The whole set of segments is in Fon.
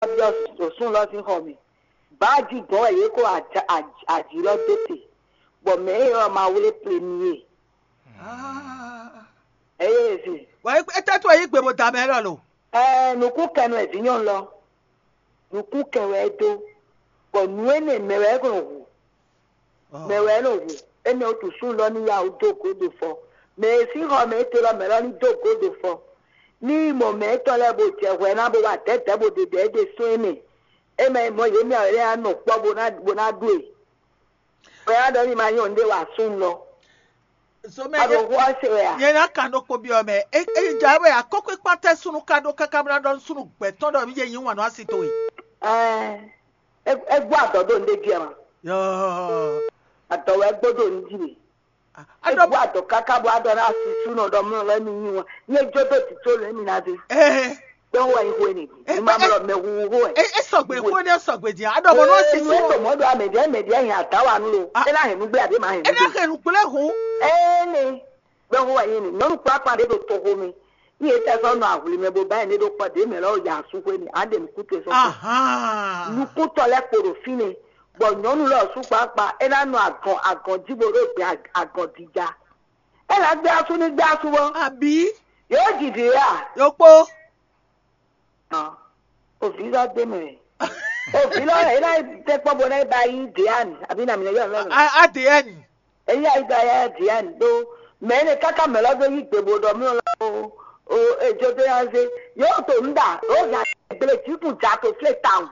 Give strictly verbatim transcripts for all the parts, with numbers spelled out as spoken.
byɔ́ ɖo súnlɔ́ sín xɔ mɛ. Bǎ jí gbɔn wɛ yě kó aji lɔ dó te, bɔ mɛ e ɔ́ ma wlé ple n'i é. Eye e se. Bɔ é tɛ́ tó yí gbe bó da mɛ lɔ lo. Ɛɛ, nukún kɛnu wɛ vǐ nyɔnu lɔ. Nukún kɛ wɛ é dó, bɔ nǔ énɛ́ mɛ wɛ é nɔ hu. Mɛ wɛ é nɔ hu. Énɛ́ wútu súnlɔ́ ní yá wǔ dó gǒdo fɔ. Mɛ e sín xɔ mɛ é te lɔ mɛ lɔ ní dó gǒdo fɔ. Ní yi mɔ mɛ étɔn lɛ́ɛ bó jɛ hwɛ ná bó wá dɛ̌dɛ̌ bó ɖe ɖɛ̌ é ɖe sún émɛ. É mɛ mɔ yě mɛ lɛ́ɛ á nɔ kpɔ́ bó ná bó ná ɖu e. Bɔ é ná ɖɔ ní ma nyɔ nǔɖé wa súnnu lɔ. Zomɛ A ɖo xó ɔ́ se wɛ a? Nyɛ ná kan ɖokpó byɔ́ mɛ. É é ja wɛ akɔ́kpékpán tɛ́ súnnu ka ɖó káká bó ná ɖɔ nú súnnu gbɛ̌tɔ́ ɖɔ mí jɛ nyí wǎn nú asi towe. Ɛɛ, é é gbɔ adɔ ɖo nɖé jí ɛ ma. Yɔɔ. Adɔ wɛ gbɔ ɖo nɖí mi. É Aɖɔ gbɔ adɔ káká bó adɔ ná asi súnnu ɖɔ mlɔ lɛ mi nyí wọn. Nyɛ jó ɖo tító lɛ mi ná dé. Ɛɛ. Gbɛn wɔ yi hwe ni. Ɛ, Ní ma ɛ, mlɔ mɛ huhu wɛ. Ɛ ɛ sɔgbe kó ne sɔgbe dia. Aɖɔ mɔ nɔ si Enu su. Eto mɔ ɖo amɛ ɖe mɛ ɖe hin ata wa nu lo. Ah. Ena hin nugbe abe ma hin Ena nugbe. Henu gblẽ ho. Ene. Gbɛn wɔ yi ni. Nyɔnu kpakpa ɖe ɖo toxo mi. Ní e tɛ sɔ nɔ ahwli mɛ bo ba yi ne ɖo kpɔ ɖe mɛ lɔ ya su hwe ni. Ade nukute sɔ. Ahan. Nukutɔ lɛ kpo ɖo fine. Bɔ nyɔnu lɔ su kpakpa ena nɔ agɔn agɔn ji bo ɖo gbe agɔn dija. Ela gbé asu ní gbé asu bɔ. Abi. Yóò jì dì ya. Yokpo. Hàn, òbí lɔ dé mɛ. Òbí lɔ yìí náà tẹ́ kpɔ́ bó náà ba yí Diane àbí nà mí lẹ́yìn ọ̀nà. A a Diane. Èyí àyíká yá Diane ɖó mɛ ní káká mɛ lɔ dó yí gbèbò ɖɔ mí lɔ o o ejò dó yá zé yóò tó ń dà ó gà gbélé tí kù já tó flé tàun.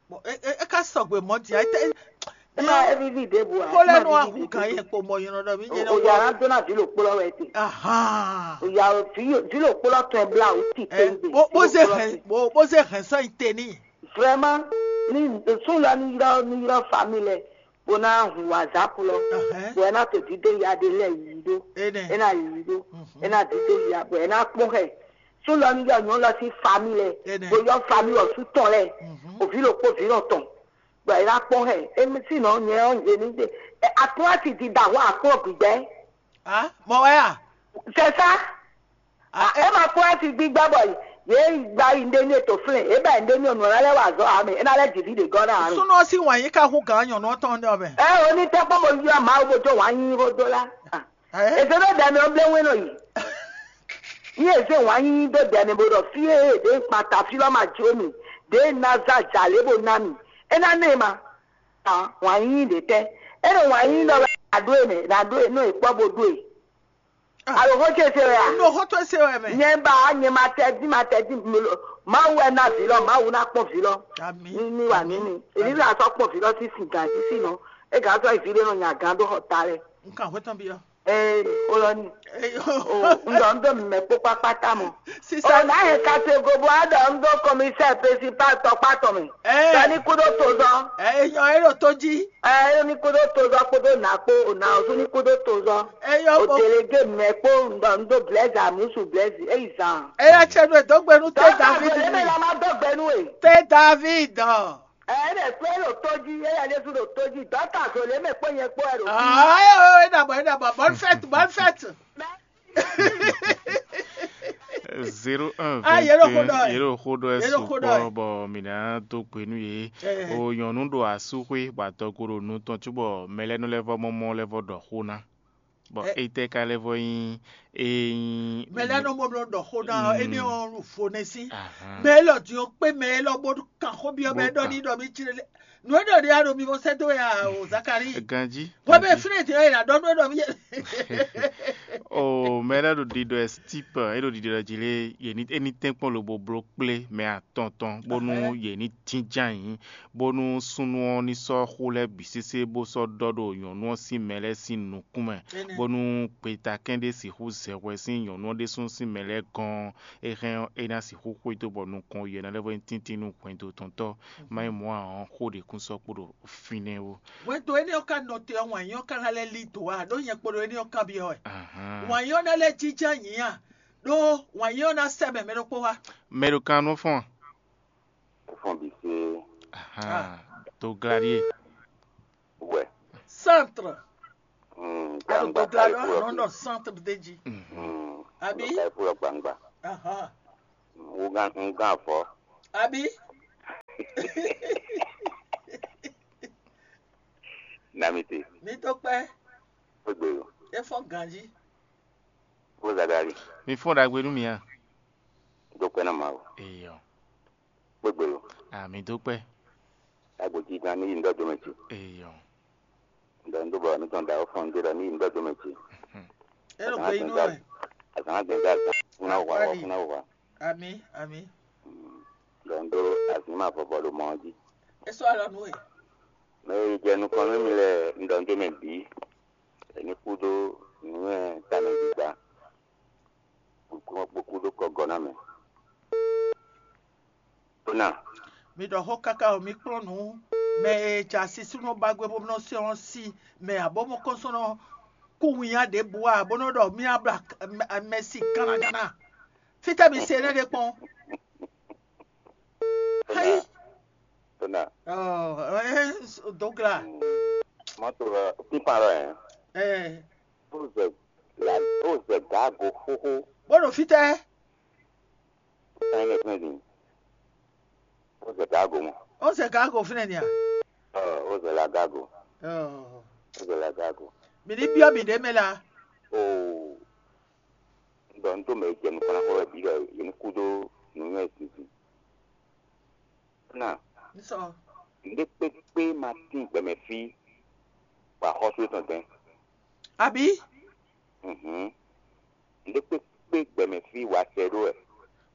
Bon, e e e ka sɔgbe mɔ dia e tɛ. Ema evivi ɖěbǔ a. Kó lɛ nú ahu gǎn yɛ kpo mɔ yɔnɔ ɖɔ mí nyɛ O nɔ ya wɔ. Na dó na vǐ lòkpó lɔ wɛ te. Ahan. O ya vǐ vǐ lòkpó lɔ tɔn bla o ti Ɛ, tɛngbé. Bó bó zé hɛn bó bó zé hɛn sɔ́ nyi te n'i. Vraiment, ní sún lɔ ní ylɔ́ ní ylɔ́ famille lɛ bó ná hun wazap lɔ. Ahɛn. Bó ɛ ná to dídó ya ɖé lɛ yǐ ɖó. Enɛ. É ná yǐ ɖó. Mhm. É ná dídó ya bó ɛ ná kpɔ́n hɛ. Sún lɔ ní ylɔ́ nyɔ̌ lɔ sín famille lɛ. Enɛ. Bó ylɔ́ famille ɔ́ sú tɔn lɛ. Mhm. Òví lòkpó vǐ lɔ tɔn. Bɔ è ná kpɔ́n hɛ émí sínɔ nyɛ ɔ́ yě ní ɖe. Aklúnátì ti da hwá akplɔ́ gbígbẹ́. Ah, mɔ wɛ a? C'est ça. Ah, é ma kplɔ́ asi gbígbá bɔ yě gba yi ndé ní ètò flɛ́n é bɛ ndé ní ọ̀nà lálẹ́ wà zọ́ àmì é ná lẹ́ jìbí ɖě gɔ́ náà rò. Súnú ɔ́ sín wǎn yí ká hú gǎn nyɔ̌nu ɔ́ tɔn ɖé ɔbɛ. Ɛ o ní tẹ́ kpɔ́n mo yɔ Mawu bó jó wǎn yí hó dó lá. Ɛ? Èsè ló dɛ mi ɔ́ blé wín nɔ yìí. Ní èsè wǎn yí dó dɛ mi bó ɖɔ fí é ɖě kpata fí lɔ ma jó mi ɖě ná zá jà lě bó ná mi. É ná nɛ ma. Wǎn yí ɖě tɛ́. É ɖo wǎn yí ɖɔ wɛ ná ɖó e mɛ ná ɖó e nú è kpɔ́ bó ɖó e. Alo xó ce se wɛ a? Nɔ xó tó se wɛ mɛ. Nyɛ ba nyɛ ma tɛ dín ma tɛ dín Mawu wɛ ná vǐ lɔ Mawu ná kpɔ́n vǐ lɔ. Ami. Ní ní wà ní ní èmi là sɔ kpɔ́n vǐ lɔ sí sin gǎn sí sin nɔ é gǎn sɔ vǐ ɖé nɔ nya gǎn dó xɔ ta lɛ. N kan xwé tán bi ɔ. Ee o lɔ ni. Ee, o n dɔ n dɔ mɛ kpó kpákpá ta mɔ. Sisa. O n'a yɛ kase gobo a dɔ n dɔ kɔmisɛ pesi pa tɔkpa tɔmɛ. Ee. Sani kudo tozɔ. Ee, nyɔ e ɖo tó jí. Ee, ni kudo tozɔ kudo na kpo o na osu ni kudo tozɔ. Eyɔ O bo. Delege mɛ kpo n dɔ n do blɛzi amusu blɛzi eyi zan. Eya tsɛ ɖo dɔgbe nu te Dɔkta David Zoleme ni. La ma dɔ gbɛ nu e. Te David. Ee, ne kpe ɖo tó jí, eya Jesu ɖo tó jí. Dɔkta Zoleme kpo nyɛ kpo ɛ ɖo. Ayo, e na bɔ e na bɔ bonne fête, bonne fête. Zéro un Ah, yě ɖo xó ɖɔ ɛ. Yě ɖo xó ɖɔ ɛ Yě ɖo xó ɖɔ ɛ. Sukpɔ bɔ mǐ ná dó gbe nú yě. Ɛ. O nyɔ̌nu ɖo asúxwé bɔ adɔgo ɖo nu tɔn cóbɔ mɛ lɛ́ɛ nɔ lɛ́ vɔ mɔmɔ lɛ́ vɔ ɖɔ xó ná. Bɔ Ɛ. Étɛ́ ka lɛ́ vɔ nyí é nyí Mɛ lɛ́ɛ nɔ mɔ blɔ ɖɔ xó ná ɔ, énɛ́ ɔ́ vo nɛ́ sí. Ahan. Mɛ élɔ́ din ɔ́ kpé mɛ élɔ́ bó kan xó byɔ́ mɛ Bó ɖɔ kan. Ní ɖɔ mí cí lé. Nǔ e ɖɔ ɖe a ɖo mi vɔ sɛ́ dó wɛ a o Zakari. Ganjí. Wọ́n bẹ fúnẹ̀ tí wọ́n yìí adɔnu e ɖɔ mi yɛ. O mɛ ɖe ɖo ɖiɖɔ ɛ stipe e ɖo ɖiɖɔ ɛ jí lé yě ní é ní tɛ́nkpɔ́n lobo bló kplé mɛ atɔn tɔn bónú Ɛhɛn. Yě ní jínján yǐ bónú súnnu ɔ́ ní sɔ́ xó lɛ́ɛ bǐ sésé bó sɔ́ ɖɔ ɖo nyɔ̌nu ɔ́ sín mɛ lɛ́ɛ sín nukún mɛ Énɛ́. Bónú gbetakɛ́n ɖé sixú zɛ hwɛ sín nyɔ̌nu ɔ́ ɖésú sín mɛ lɛ́ɛ gɔ́n é hɛn ɔ́, é ná sixú xwedó bɔ nukɔn yɛ̌nɔ lɛ́ɛ vɔ nyí tíntín nú hwɛndo tɔn tɔ́. Má nyí mɔ̌ ǎ ɔ́, xó ɖě kún sɔ́ kpo ɖo fínɛ́ ó. Hwɛndo énɛ́ ɔ́ ka nɔ te ɔ́, wǎn nyínyɔ́ ka ná lɛ́ lí dǒ ǎ, ɖó nyɛ kpo ɖo énɛ́ ɔ́ kanbyɔ́ wɛ. Ahán. Wǎn nyínyɔ́ ná lɛ́ jínjɔ́n nyǐ a? Ɖó wǎn nyínyɔ́ ná sɛ́ mɛ mɛ ɖokpó wá. Mɛ ɖo kan nɔ fɔ́n a? Fɔ́n bǐ sé. Ahán. Ah. To glá ɖíe. Wɛ. Centre. Mm, A ɖo gbangba gbedó ka alɔ yi kú lɔ nɔ fi. Nɔ centre ɖé jí. Mhm. Mm, Àbí? Lɔ ka yi kú lɔ gbangba. Ahán. Mm, wúgán, wúgán afɔ. Àbí? Damite, Mi dó kpɛ́, kpégbé o, é fɔ́n ganjí. kó Zadali, Mi fɔ́n ɖagbe nú mì a? dó kpɛ́ ná Mawu. Eyɔ. Kpégbé o, Ah, mi dó kpɛ́. agbo jí gán ní yí ŋdɔ́ dome ce. Eyɔ. Ŋdɔ́ ŋdó bɔ mi tɔn da ó fɔn ŋdé ɖɔ ní yí ŋdɔ́ dome ce. É ɖo gbe yí nú wɛ. Azǎn gbɛn dá azǎn, fúnná wà wà, fúnná wà. Ami, ami. Ŋdɔ́ ŋdó azǐn ma vɔvɔ ɖo mɔ ɔ́ jí. É sɔ́ alɔ nú we. Mɛ e jɛ nukɔn nú mi lɛ ŋdɔ́ ŋdó mɛ bǐ, è ní kú dó nǔnywɛ́ tamɛ gbígbá, bó kú dó kɔgɔ ná mɛ. Tó ná, Mi ɖɔ xó káká o, mi kplɔ́n nǔ mɛ e jɛ asisúnɔ ba gbé bó nɔ sɔ́ sí mɛ abo mɔ kɔnsɔnɔ kú winnyá ɖěbǔ a bó nɔ ɖɔ mí abla mɛ si gánagánna. Fítɛ́ mi se énɛ́ ɖé kpɔ́n. Hayi. tó ná, Ɔ, ɛ, dogla. Mɔto lɔ, pípa lɔ yẹn, Ɛ, ó zɛ la, ó zɛ gǎgo xóxó, bó ɖo fítɛ́. sáyẹn lɛ fún ɛdín, ó zɛ gǎgo mɔ, Ó zɛ gágo fínɛ́ ni a? ɔ, ó zɛ la gǎgo, Ɔ, ó zɛ la gǎgo. mi ní byɔ́ mi ɖě mɛ la. Oo, ŋdɔ́ ŋdó mɛ e jɛ nukɔn ná xɔ wɛ bǐ ɖɔ yě ní kú dó nǔnywɛ́ zinzin. Tó ná, N sɔ. ŋɖé kpékpé ma tín gbɛmɛ fí, bɔ axɔ́sú étɔn dɛn. Abi, Mhm. Ŋɖé kpékpé gbɛmɛ fí wa sɛ ɖó wɛ,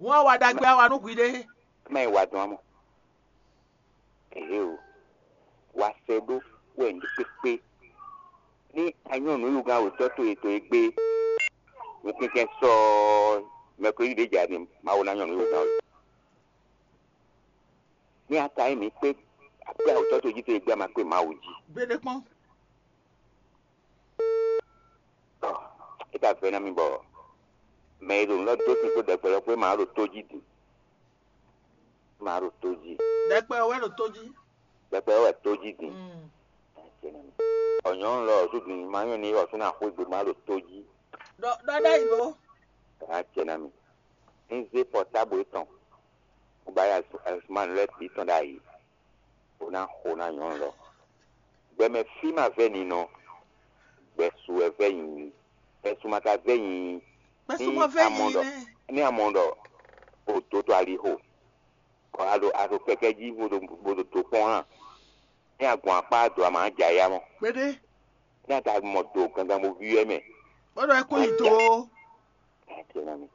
wọ́n á wa ɖagbe á wa nú hwi ɖé. má yi wa dɔn amɔ. Ehe o, wa sɛ ɖó wɛ ŋɖé kpékpé. Ní anyɔ́ nǔyúgán wětɔ́ towe towe gbé, wokɛ́kɛ́ sɔ́ mɛkúlí ɖě jà ni Mawu ná nyɔ́ nǔyúgán wě. Ní ata nyí mǐ kpé akpé awutɔ́ towe jí towe gbé a ma kpé Mawu jí. Gbeɖé kpɔ́n. Tɔ, é ka vɛ́ ná mì bɔ mɛ e ɖo nǔ lɔ dó sin kpó ɖɛkpɛ lɔ kpó é ma ɖo tó jí din. É ma ɖo tó jí. Ɖɛkpɛ wɛ ɖo tó jí. Ɖɛkpɛ wɛ tó jí din. Mm. Ɔ̀nyɔ́ lɔ ɔ̀sùn din ma nyɔ́ ní ɔ̀sùn ná xwé gbe ma ɖo tó jí. Ɖɔ ɖɔ ɖá yi lo. Acɛ ná mi. Ní zé pɔtábl étɔn, bó ba yá Ɛsumanu lɛ́ɛ bǐ tɔn ɖ'ayǐ, bó ná xo ná nyɔ̌nu lɔ. Gbɛmɛ fí ma vɛ́ ninɔ, gbɛsu wɛ vɛ́ nyinyi, gbɛsu ma ka vɛ́ nyinyi. Gbɛsumɔ vɛ yi nɛ. Ní a mɔ ɖɔ o dó tó ali xo, bɔ a ɖo a ɖo kɛkɛ jí bó ɖo bó ɖo dó kpɔ́n hã, ní a gbɔn akpá dó a ma ja ya mɔ, Gbeɖé. ní a ka mɔ do gangan bó víwɛ́ mɛ. Bó ɖɔ é kún yi do. Acɛ ná mi.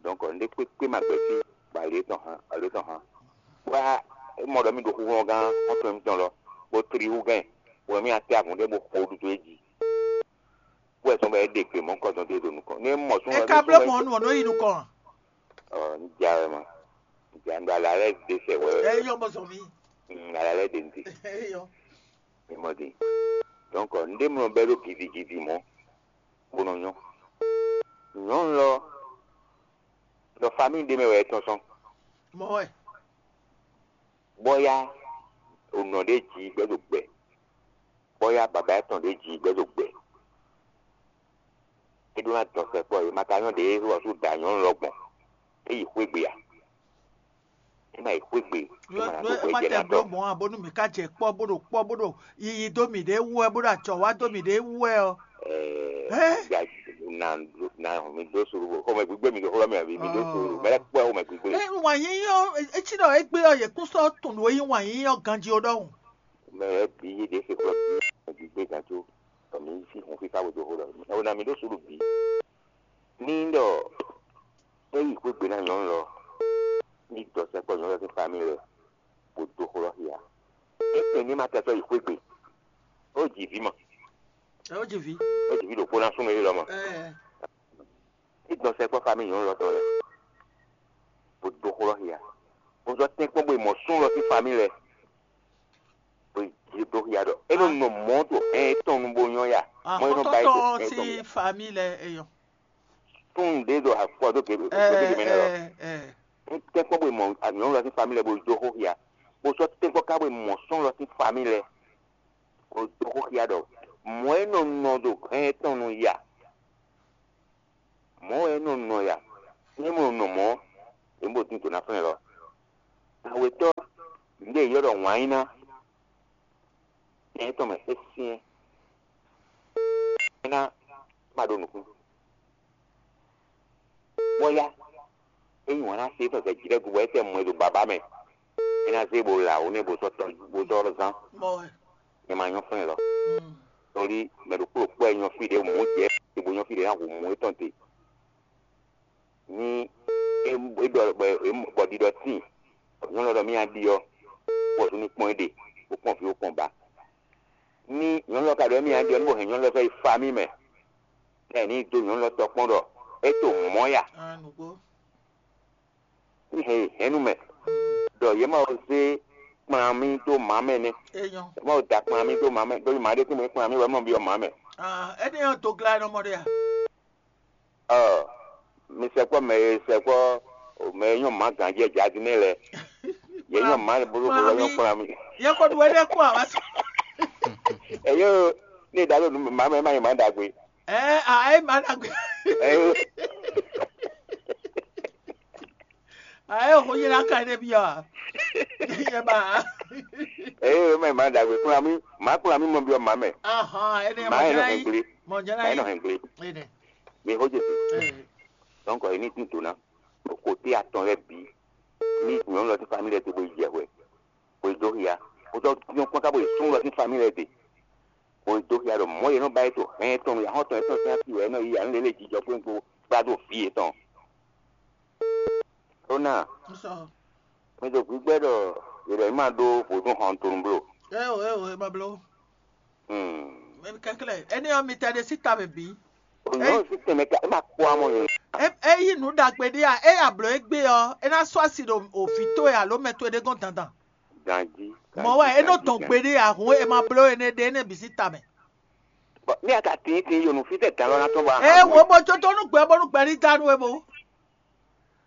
Donc ŋɖé kpékpé ma gbɛ́ fí, bɔ alě tɔn hán, alě tɔn hán. Wá mɔ ɖɔ mì ɖo xúxú gán xɔ́ntɔn mitɔn lɔ, bó tlí hú gɛn, bɔ mì atɛ avɔ̌n ɖé bó xo ɖuɖu é jí. Wɛ sɔn bɔ é ɖe gbe mɔ̌ kɔdɔn ɖé ɖo nukɔn. Ní é mɔ sún É ka bló mɔ nú ɔ́ nɔ yi nukɔn. Ɔ, ní ja wɛ ma. Ní ja ŋɖɔ alǎ lɛ́ɛ ɖe sɛ wɛ. É yɔ bɔ zɔn mi. Mm, alǎ lɛ́ɛ ɖe ŋɖe. É yɔ. Ní mɔ ɖe. Donc ŋɖé mlɔ bɛ́ ɖó gidigidi mɔ̌, bó nɔ nyɔ́. Nyɔ̌nu lɔ, ɖɔ famille ɖé mɛ wɛ é tɔ́n sɔn. Mɔ wɛ. Bɔ́yá ònɔ ɖé ji gbɛ́ ɖo gbɛ, bɔ́yá baba étɔn ɖé ji gbɛ́ ɖo gbɛ. É ɖó ná dɔn sɛkpɔ́, è ma ka nyɔ́ ɖě é wɔ sú da nyɔ̌nu lɔ gbɔn, é yi xwé gbe a? É ma yi xwé gbe, é ma ná ɖó Nú xwé ma jɛ tɛ ná bló tɔ. Mɔ̌ ǎ bónú mǐ ka jɛ kpɔ́ bó ɖo kpɔ́ bó ɖo yiyi dó mǐ ɖé wú wɛ bó ɖo acɔ̌ wá dó mǐ ɖé wú wɛ ɔ́. Hɛn? Ya na na mi dó suru xɔmɛ gbígbé mi xɔlɔ mi àbí mi dó suru mɛ lɛ kpɔ xɔmɛ gbígbé. Ɛ wǎn yíyí ɔ́ etí ɖɔ égbé ɔ́ yě kún sɔ́ tunwun ɖó yí wǎn yíyí ɔ́ ganjí ó ɖɔhun. Mɛ lɛ bí yé ɖě se xɔlɔ mi gbígbé gán tó, mi sí hun fífá wé dó xɔlɔ. Ɛwɔ na mi dó suru bí. Ní ɖɔ é yi xwé gbe ná nyɔ̌nu lɔ, ní dɔ sɛkpɔ nyɔ̌nu lɔ sín famille lɛ, bó dó xɔlɔ xia. É kpɛn ní ma tɛ sɔ́ yi xwé gbe. Ó jì vǐ mɔ, Ɛ ó jì ví. ó jì vǐ ɖokpó ná súnmọ́ é lɔ mɔ. Ɛ Ní dɔ sɛkpɔ famille nyɔ̌nu lɔ tɔn lɛ, bó dó xɔlɔ xia. Bó zɔ tɛ́nkpɔ́n bó yi mɔ sún lɔ sín famille lɛ, bó yi dó xia ɖɔ é nɔ nɔ mɔ̌ to hɛn étɔn nu bó nyɔ́ ya. Mɔ é nɔ ba yi to Àkọ́tọ́tọ́ hɛn étɔn sí nu. Famille ɛ yɔ. Tún ɖě ɖo afɔ dó gbé Ɛ gbé mɛ nɛ lɔ. ɛ ɛ. Tɛ́nkpɔ́n bó yi mɔ nyɔ̌nu lɔ sín famille lɛ bó yi dó xó xia. Bó sɔ́ tɛ́nkpɔ́n ká bó yi mɔ sún lɔ sín famille lɛ, bó yi dó xó xia ɖɔ mɔ̌ é nɔ nɔ ɖo hɛn étɔn nu ya. Mɔ̌ wɛ é nɔ nɔ ya. Ní é mɔ nɔ mɔ̌, é mɔ dín dǒ ná flɛ́n lɔ. Awětɔ́, nǔɖé e yɔ́ ɖɔ wǎn nyí ná. Nyɛ tɔn mɛ é syɛ́n. É ná ma ɖo nǔkún. Bɔ yá, é nyi wǎn ná se tɔn sɛ jǐ lɛ́ɛ gu bɔ é tɛ mɔ ɛ ɖo bǎbá mɛ. É ná zé bo la wǒ nɛ bo sɔ́ tɔ́ bo sɔ́ zán. Bɔ wɛ. Nyɛ ma nyɔ́ fɛ́n lɔ. Mm. Tóli mɛ ɖokpó ɖokpó wɛ nyɔ́ fí ɖě mǔ jɛ bo nyɔ́ fí ɖě ná hu mǔ étɔn te. Ní é é ɖɔ bɔ é bɔ ɖiɖɔ tíin, nyɔ̌nu ɔ́ ɖɔ mì nyi aɖi ɔ́, bɔ zun ní kpɔ́n é ɖe, bó kpɔ́n vǐ bó kpɔ́n ba. Ní nyɔ̌nu ɔ́ ka ɖɔ mì nyi aɖi ɔ́, ní bó hɛn nyɔ̌nu ɔ́ sɔ́ yi fa mì mɛ, bɔ é ní dó nyɔ̌nu ɔ́ tɔ́ kpɔ́n ɖɔ é to mɔ̌ ya. Ah, nǔgbó. Ní hɛn hɛ̌nnu mɛ, ɖɔ yě ma ko zé kplán mì dó mǎ mɛ nɛ́. Yě ma ko da kplán mì dó mǎ mɛ, ɖó mǎ ɖé tɛ́nmɛ kplán mì wɛ mɔ byɔ́ mǎ mɛ. Ah, énɛ́ ɔ́ dó glá nɔ mɔ ɖé a? Ɔ, mi sɛkpɔ́ mɛ e sɛkpɔ́ mɛ e nyɔ́ mǎ ganjí ɛ jadinɛ lɛ́ɛ. Yě nyɔ́ mǎ bolo bolo nyɔ́ kplán mì. Yɛ ko ɖu ɛnɛ kó a wá sɔ. Ɛyó, ní e ɖǎ ɖo nǔ mǎ mɛ má nyí mǎ ɖagbe. Ɛ a ɛ má ɖagbe. Ɛyó. A ɛ ho yi la ka ne bi a. Yɛ ba. Ɛyó, má nyí mǎ ɖagbe kplán mì, má kplán mì mɔ byɔ́ mǎ mɛ. Ahɔn, ɛnɛ Mǎ ɛ nɔ hɛn gblé. Mɔ jɛnɛ Mǎ ɛ nɔ hɛn gblé. Ɛnɛ. Mi xó Jezu. Ɛ. Donc, è ní dín dǒ ná. Ɖo côté atɔn lɛ́ɛ bǐ. Ní nyɔ̌nu lɔ sín famille lɛ́ɛ te bó yi jɛ hwɛ, bó yi dó hia. Bó sɔ́ nyɔ́ kpɔ́n ká bó yi súnnu lɔ sín famille lɛ́ɛ te, bó yi dó hia ɖɔ mɔ̌ e nɔ ba yi to hɛn tɔn nu, yǎ xɔ́ntɔn yětɔn sín asi wɛ é nɔ yi ǎ, nú lě lě jijɔ kpó kpó kplá dó vǐ yětɔn. Ó ná, Un sɔ. Mi ɖo gbígbɛ́ ɖɔ yě ɖɔ yě ma ɖó vodún xɔntonu bló. Eo, eo, e ma bló. Hmm. Mɛ kɛnklɛ́n. Énɛ́ ɔ́, mi tɛ ɖe sí ta mɛ bǐ. Nyɔ̌nu sín tɛnmɛ ka é ma kpó amɔ nyɔ̌nu. É é yí nǔ ɖagbe ɖé a? É ya blǒ égbé ɔ́, é ná sɔ́ asi ɖo òfǐ towe alo mɛ towe ɖé gɔ́n dandan. Ganjí. Mɔ̌ wɛ é nɔ dɔn gbeɖé a? Hǔn e ma bló énɛ́ ɖe énɛ́ bǐ sín ta mɛ. Bɔ ní a ka tín tín yo nǔ fítɛ́ gǎn lɔ ná tɔ́n bɔ a Ée hǎn wǒ bó có tó nú gbɛ bónú gbɛ ní dá nú we bó.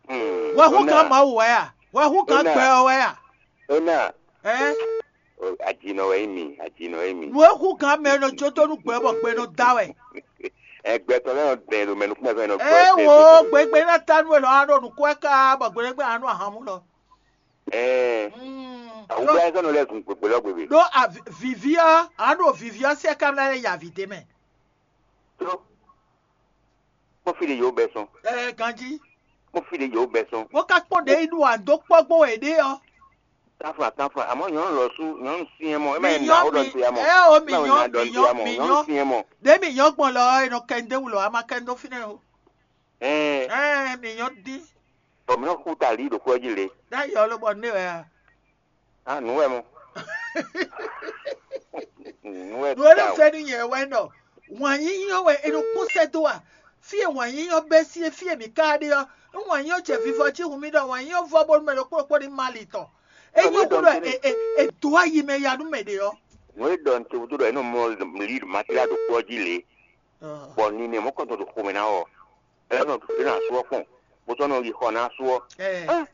Hmm, Wɛ hú ó ná. Gǎn Mawu wɛ a? Wɛ hú gǎn Ó ná. Gbɛ ɔ́ wɛ a? Ó ná. Ɛ? O, ajinɔ wɛ nyí mi, ajinɔ wɛ nyí mi. Nǔ e hú gǎn mɛ nɔ jó tó nú gbɛ bɔ gbɛ nɔ dá wɛ. Ɛ, gbɛtɔ́ lɛ́ɛ nɔ dɛn ɖo mɛ nukúnmɛ fɛn nɔ Ée gbɔ wǒ gbɛgbɛ ná dá nú we lɔ á ɖo nǔkó wɛ ká bɔ gbɛɖégbé á nú ahan mú lɔ. Ɛ, Mm, awugbla ɛ sɔnɔ lɛ zun gbegbe lɔ gbegbe. Ɖó a- vi- vivi ɔ́, a ɖo vivi ɔ́ sɛ kámlá lɛ yi avǐ ɖé mɛ. Tó. Kpɔ́n fí ɖe yǒ bɛ sɔn. Ɛ ganjí. Kpɔ́n fí ɖe yǒ bɛ sɔn. Bó ká kpɔ́n ɖě yi ɖu àdó kpɔ́ gbó wɛ ɖé ɔ́. Tánfla tánfla, àmọ́ nyɔ̌nu lɔ sú nyɔ̌nu syɛ́n mɔ, é má yɛ nǎ ó ɖɔ nǔ ya mɔ. Ɛ o mi Má yɛ nyɔ nǎ ɖɔ mi nǔ ya nyɔ mɔ, mi nyɔ̌nu nyɔ. Syɛ́n mɔ. Ɖě mi nyɔ gbɔn lɔ ɔ́, è nɔ kɛ ndé wulɔ, a ma kɛ ndó fínɛ́ o. Ɛɛ, Ɛ mi nyɔ dín. Bɔ mǐ nɔ xú ta lǐ ɖo xwé ɔ́ jí lě. Ɖ'ayǐ ɔ́ lobɔ nú wɛ a? Á nǔ wɛ mɔ. Nǔ wɛ Nǔ e ɖo ta o. Fɛ́ nú nyɛ wɛ ɖɔ wǎn yíyí ɔ́ wɛ è nɔ kpɔ́n sɛ́ dó a? Fí e wǎn yíyí ɔ́ bɛ́ sí é, fí e mǐ ka ɖe ɔ́, nú wǎn yíyí ɔ́ jɛ vivɔ jí hun mì ɖɔ wǎn yíyí ɔ́ vɔ bónú mɛ ɖokpó ɖokpó ní má ali tɔn. É Nɔ nyɔ́ mǐ ɖɔ húɖɔ nǔ é, é, é dǒ ayi mɛ ya nú mɛ ɖě ɔ́. Nǔ e ɖɔ un ce wútu ɖɔ é nɔ mɔ lǐ Matíla ɖo kpɔ́ jí lě, bɔ ninɛ mɔ̌kɔntɔn ɖo xomɛ ná ɔ́, é nɔ é nɔ asú ɔ́ kpɔn, bó sɔ́ nɔ yi xɔ ná asú ɔ́. Ɛ, Á,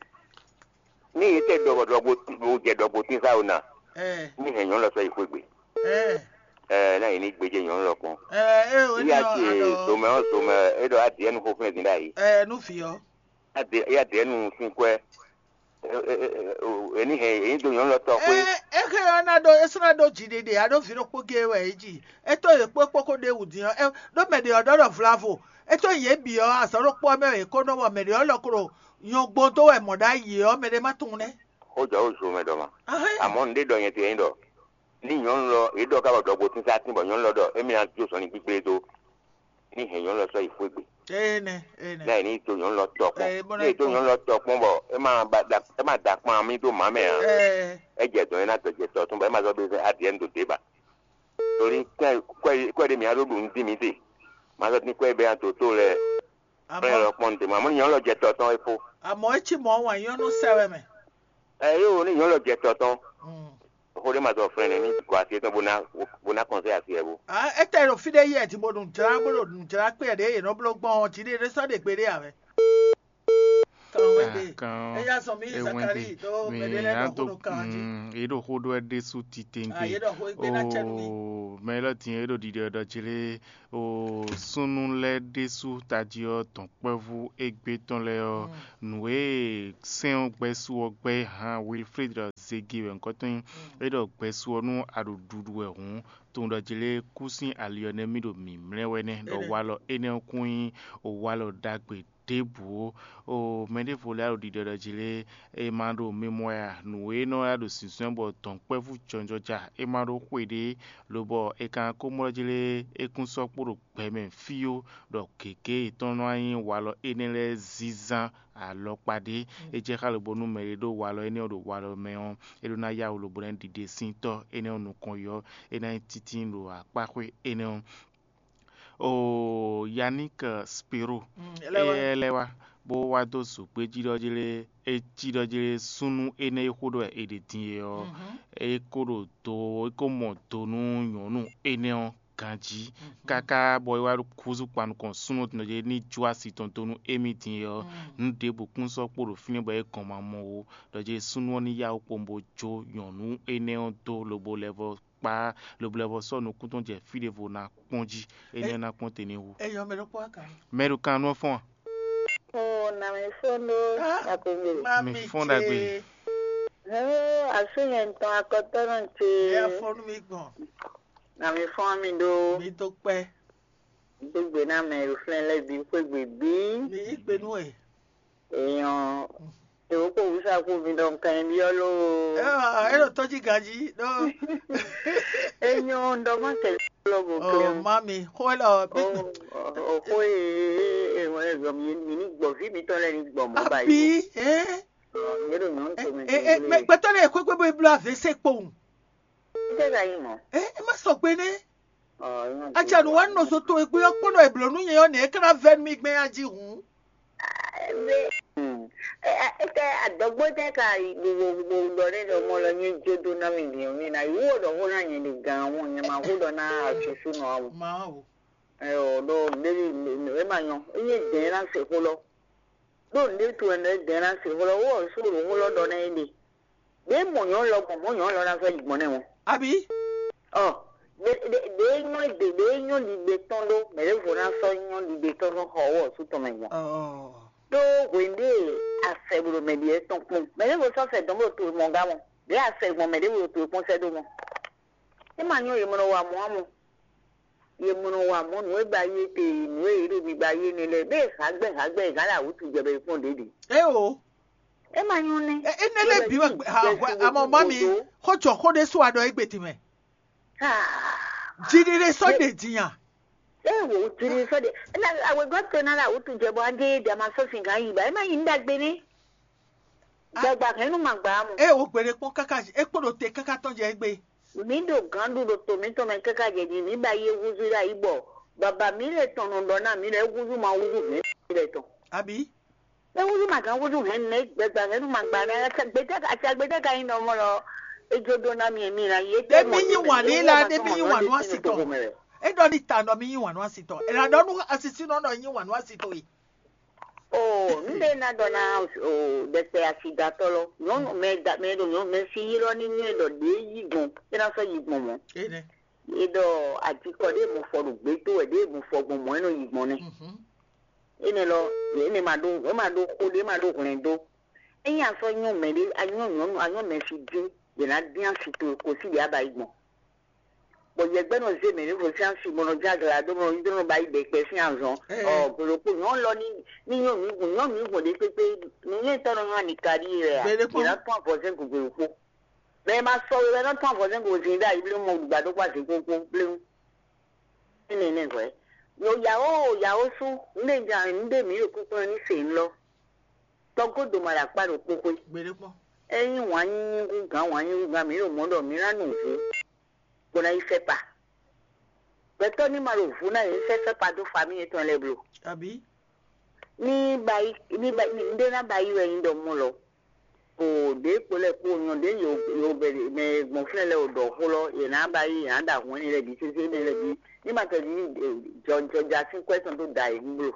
ní yě tɛ ɖɔ ɖɔgbo bó jɛ ɖɔgbo tín sá o ná, ɛ, ní hɛn nyɔ̌nu lɔ sɔ́ yi xwé gbe. Ɛ, Ɛ, ná yě ní gbéjé nyɔ̌nu lɔ kpɔn. Ɛ, é o Yá ní ɔ ce àdɔ zomɛ ɔ́ zomɛ, é ɖɔ adìɛ nu xó fɛ́n dín ɖ'ayǐ. Ɛ, nú vǐ ɔ́. Adìɛ yá dìɛ nu sín kwɛ́. Ɛ, ɛ, ɛ, ɛ, o, È ní hɛn è ní dó nyɔ̌nu lɔ tɔxwé. Ɛ, é xé ɔ́ ná ɖó é sɔ́ ná ɖó jǐɖiɖi ǎ ɖó vǐ ɖokpó géé wɛ é ji. É tó yě kpó kpó kó ɖe wǔ din ɔ́, é, ɖó mɛ ɖě ɔ́ ɖɔ ɖɔ vlavo. É tó yě bǐ ɔ́, azɔ̌ ɖokpó ɔ́ mɛ wɛ yě kó nɔ bɔ mɛ ɖě ɔ́ lɔ ko ɖo nyɔ̌gbɔn dó wɛ mɔ̌ ɖ'ayǐ ɔ́, mɛ ɖé má tunwun nɛ́. Xó jɔ ó zo mɛ ɖɔ ma. Ahɛ́. Àmọ́ un ɖé ɖɔ nyɛ tɛ́ nyí ɖɔ ní nyɔ̌nu lɔ yě ɖɔ ká bɔ ɖɔgbo tín sá tín bɔ nyɔ̌nu lɔ ɖɔ émí ná jó sɔn ní gbígbé dó. Ní hɛn nyɔ̌nu lɔ sɔ́ yi xwé gbe. Énɛ́, énɛ́. Ní ɛ ní dó nyɔ̌nu lɔ tɔ kpɔ́n. Ɛ, bó ná Ní è dó kpɔ́n. Nyɔ̌nu lɔ tɔ kpɔ́n bɔ é má ba da é má da kpan mì dó mǎ mɛ ǎ. Ɛ, É jɛ dɔ̌n é ná dɔjɛ tɔ tɔn bɔ é má zɔ́ ɖó adìɛ nu dó dě ba. Torí kɛ kɔ kɔ ɖé mǐ á ɖó ɖu nú dín mǐ te. Má zɔ́ dín kɔ e bɛ nya dǒ tó lɛ́ɛ. Kplɔ́n Àmọ́ lɔ kpɔ́n nu te mɔ. Àmọ́ ní nyɔ̌nu lɔ jɛ tɔ tɔn é fó. Àmọ́ é cí mɔ̌ wǎn nyɔ́nú sɛ wɛ mɛ. Ɛ yó ní nyɔ̌nu lɔ jɛ tɔ tɔn. Mm. Xó ɖé ma zɔ flɛ́n nɛ́ ní gɔ asi étɔn bó ná bó ná kɔn sɛ́ asi ɛ bó. Ah, é tɛ ɖo fí ɖé yɛ din bó ɖo nǔ jlá bó ɖo nǔ jlá kpé ɖě yě nɔ bló gbɔn ɔ́, jǐ ɖé ɖé sɔ́ ɖe gbe ɖé ǎ wɛ. Kan wɛ ɖe. Kan Eya zɔn mi ewɛn Zakari ɖe. Do Mi mɛɖe lɛ ɖɔ ado xó ɖo kan jí. Mm, e ɖo xó ɖɔ wɛ ɖésú titengbe. Ah, ye ɖɔ xó egbe ná cɛ nú mi. O mɛ lɔ din e ɖo ɖiɖɔ ɖɔ jlé. O súnnu lɛ́ɛ ɖésú tají ɔ́ dɔ̌nkpɛvú égbé tɔn lɛ́ɛ ɔ́, nǔ e sɛ́n ɔ́ gbɛ́ sú ɔ́ gbɛ́ hán Wilfred ɖɔ zegi wɛ ŋkɔ́ tɔn nyí. É ɖɔ gbɛ́ sú ɔ́ nú a ɖo ɖuɖu wɛ hǔn, tunwun ɖɔ jlé kú sín ali ɔ́ nɛ́ mì ɖo mǐmlɛ́ wɛ nɛ́, ɖɔ walɔ énɛ́ ɔ́ kún nyí walɔ ɖagbe ɖěbǔ ó. O mɛ ɖěvo lɛ́ɛ ɖo ɖiɖɔ ɖɔ jí lé, è ma ɖo mimɔ a? Nǔ e nɔ wá ɖo zǐnzɔ́n bɔ dɔ̌nkpɛ́vú jɔnjɔja é ma ɖó xwe ɖé, lobɔ è ka ko mlɔ́ jí lé, é kún sɔ́ kpo ɖo gbɛ mɛ fíó, ɖɔ gěgé yětɔn nɔ wá nyí walɔ énɛ́ lɛ́ɛ zínzán alɔkpa ɖé. É jɛ xá lobo nú mɛ e ɖó walɔ énɛ́ ɔ́ ɖo walɔ mɛ ɔ́, é ɖó ná yá wǔ lobo ná ɖiɖe sín tɔ́ énɛ́ ɔ́ nukɔn yɔ́, é ná nyí títí ɖo akpáxwé énɛ́ ɔ́. O Yannick Spiro, éyɛ́ lɛ́ wá bó wá dó zǒgbéjí ɖɔ jlé, é cí ɖɔ jlé súnnu énɛ́ e xó ɖɔ è ɖe din é ɔ́, é kó ɖo do é kó mɔ do nú nyɔ̌nu énɛ́ ɔ́ ganjí, káká bɔ é wá húzú kpan nukɔn súnnu tɔn ɖɔ jlé ní jó asi tɔn dó nú émí din é ɔ́, nǔ ɖěbǔ kún sɔ́ kpo ɖo fínɛ́ bɔ é gɔn ma mɔ ó, ɖɔ jlé súnnu ɔ́ ní yá wú kpowun bó jó nyɔ̌nu énɛ́ ɔ́ dó lobo lɛ́ vɔ kpá lobo lɛ́ vɔ sɔ́ nukún tɔn jɛ fí ɖěvo ná kpɔ́n jí, énɛ́ ná kpɔ́n te ní hu. Eyɔ mɛ ɖokpó aka. Mɛ ɖo kan nú ɔ́ fɔ́n a? O na mi fɔ́n ɖó akɔngbè. Mi fɔ́n ɖagbe. Hɛn asú nyɛ ŋutɔn akɔtɔ́nɔ ce. Ɛ fɔ́n nú mi gbɔn. Na mi fɔ́n mi ɖó. Mi tó kpẹ́. Gbégbé ná mɛ ɖo flɛ́n lɛ́ɛ bǐ xwé gbě bǐ. Mi yí gbe nú ɛ. Èèyàn èwo kò wúsá kú mi ɖɔ nǹkan yẹn byɔ́ ló. Ɛ ɛ ɖo tɔ́jí ganjí ɖó. Èèyàn ŋdɔ má kẹ́ lɔ bò Ɔ klé. Mami, xó lɔ bí. Òkú èèwọ̀n ẹ̀gbọ́n mi mi ní gbọ̀ fí mi tọ́ lẹ́ni gbọ̀ mọ́ báyìí. Àbí ẹ́ Yẹ́dọ̀ nyɔ̌nu tó mi ẹ́ ẹ́ mɛ gbɛtɔ́ lɛ kó gbé bó bló avě sɛ kpowun. Ṣé ka yín mọ́? Ẹ́ ẹ má sɔ gbé nɛ. Ọ̀ yín mọ́. Atsɛ nu wa nɔ so to egbe ɔ́ kpɔ́n ɖɔ è blǒ nú nyɛ ɔ́ nɛ é ká ná vɛ́ nú mì gbɛn ají hǔn. Ebe ete adɔgbo tɛ ka gbogbo gbogbo ɖɔ ne ɖɔ mɔ lɔ nye jo do na mi diɛ mi na yi wo ɖɔ ho na nye ɖe gan wo nye ma ho ɖɔ na asusu nɔ awo. Ma o. Ɛyɔ ɖo ɖevi ema nyɔ enye dɛn na se ho lɔ. Ɖo nɖe to ɛnɛ dɛn na se ho lɔ wo ɔsu ɖo ho lɔ ɖɔ na ye ɖe. Ɖe mɔ nyɔ lɔ gbɔn mɔ nyɔ lɔ na fɛ yi gbɔn nɛ o. Abi. Ɔ ɖe ɖe ɖe nyɔ ɖe ɖe nyɔ ɖiɖe tɔn ɖo mɛ ɖe vo na sɔ nyɔ ɖiɖe tɔn ɖo xɔ wɔ su tɔn mɛ gbɔn. Ɔ. Ɖo hwende afɛ blo mɛ ɖi etɔn kpɔn mɛ ɖe vo sɔ fɛ dɔn blo to mɔ ga mɔ ɖe afɛ gbɔn mɛ ɖe vo to kpɔn sɛ ɖo mɔ. E ma nyɔ ye mɔ nɔ wa mɔ amɔ. Ye mɔ nɔ wa mɔ nǔ e ba ye te nǔ e ɖo mi ba ye ne lɛ be hagbɛ hagbɛ gán la wutu jɛ bɛ kpɔn ɖe ɖe. E o. E ma nyɔ nɛ. E ne lɛ bi wɛ amɔ ma mi xɔ jɔ xɔ ɖe so aɖɔ egbe ti mɛ. Jiɖiɖe sɔ ɖe dinya. E wo jiɖiɖe sɔ ɖe. Ena awegɔ to na la wutu jɛ bɔ ande da ma sɔ sin kan yi ba e ma yi nda gbe ne. Gbagba hɛn nu ma gba mo. E wo gbede kpɔn kaka e kpo ɖo te kaka tɔn jɛ egbe. Mi ɖo gǎn ɖu ɖo to mǐtɔn mɛ káká jɛ din mǐ ba yi húzú ɖo ayǐ bɔ baba mǐ lɛ tɔn nɔ ɖɔ ná mǐ lɛ húzú ma húzú hɛn mǐ lɛ tɔn. Abi. Mɛ húzú ma gán húzú hɛn mɛ gbɛgba hɛn ma gba ná gbɛdɛ ati agbɛdɛ ka nyi nɔ mɔ lɔ edzo ɖo ná mi mi na yi. Ɖe mi nyi wàn ní la ɖe mi nyi wàn nú asitɔ. E ɖɔ ní ta nɔ mi nyi wàn nú asitɔ. Ela ɖɔ nú asisi nɔ nɔ nyi wàn nú asitɔ yi. O nde na ɖɔ na o ɖɛkpɛ asidatɔ lɔ nyɔnu mɛ da mɛ ɖo nyɔnu mɛ si yi lɔ ni nyɛ ɖɔ ɖe yi gbɔn e na sɔ yi gbɔn mɔ. E ɖɔ adikɔ ɖe mo fɔ ɖo gbe to wɛ ɖe mo fɔ gbɔn mɔ e nɔ yi gbɔn nɛ. Ene lɔ ene ma ɖo e ma ɖo xo ɖe e ma ɖo hwlɛn do. Eyin asɔ nyɔ mɛ ɖe anyɔ nyɔnu anyɔ mɛ si din ɖe na dín asi to ko si ɖe aba yi gbɔn. Bɔ yɛgbɛ nɔ zé mɛ ní vo sín asi bɔ nɔ dza gla dó bɔ nɔ ba yi ɖe kpɛ sín azɔn. Ɔ gbolo kpo nyɔ lɔ ní ní nyɔ mi gun nyɔ mi gun ɖe kpekpe ní nyɛ tɔ nɔ nyɔ ani ka ɖi yɛ a. Gbele kpɔn. Yɛ na tún avɔ zɛn gun gbolo kpo. Mɛ ma sɔ wɛ na tún avɔ zɛn gun zin ɖe ayi bléwu mɔ gbadó kpa zin kpókpó bléwu. Ní nɛ nɛ hwɛ. Yo yawo yawo sú ní ɖe dza ní ɖe mí ɖo kúkú ní se ńlɔ. Tɔgó doma ɖo akpá ɖokpó xwé. Gbele kpɔn. Eyin wǎn nyínyí gúngán wǎn nyínyí gúngán mǐ ɖo mɔ̌ ɖɔ mǐ ná nu vǔ bó ná yi sɛ́ kpa. Gbɛtɔ́ ní ma ɖo vǔ ná yě sɛ́ sɛ́ kpa dó famíi yětɔn lɛ́ɛ blo. Abǐ? Ní ba yi ní ba ní ɖé ná ba yi wɛ nyí ɖɔ mɔ lɔ. O ɖě kpo lɛ́ kpo nyɔ ɖě yo yo bɛ mɛ gbɔn fúnɛ lɛ́ɛ o ɖɔ xó lɔ yě ná ba yi yě ná ɖo ahun ɛnɛ lɛ́ɛ bǐ sésé ɛnɛ lɛ́ɛ bǐ ní ma tɛ ní jɔjɔja sín kwɛ́ tɔn tó da yě ní blo.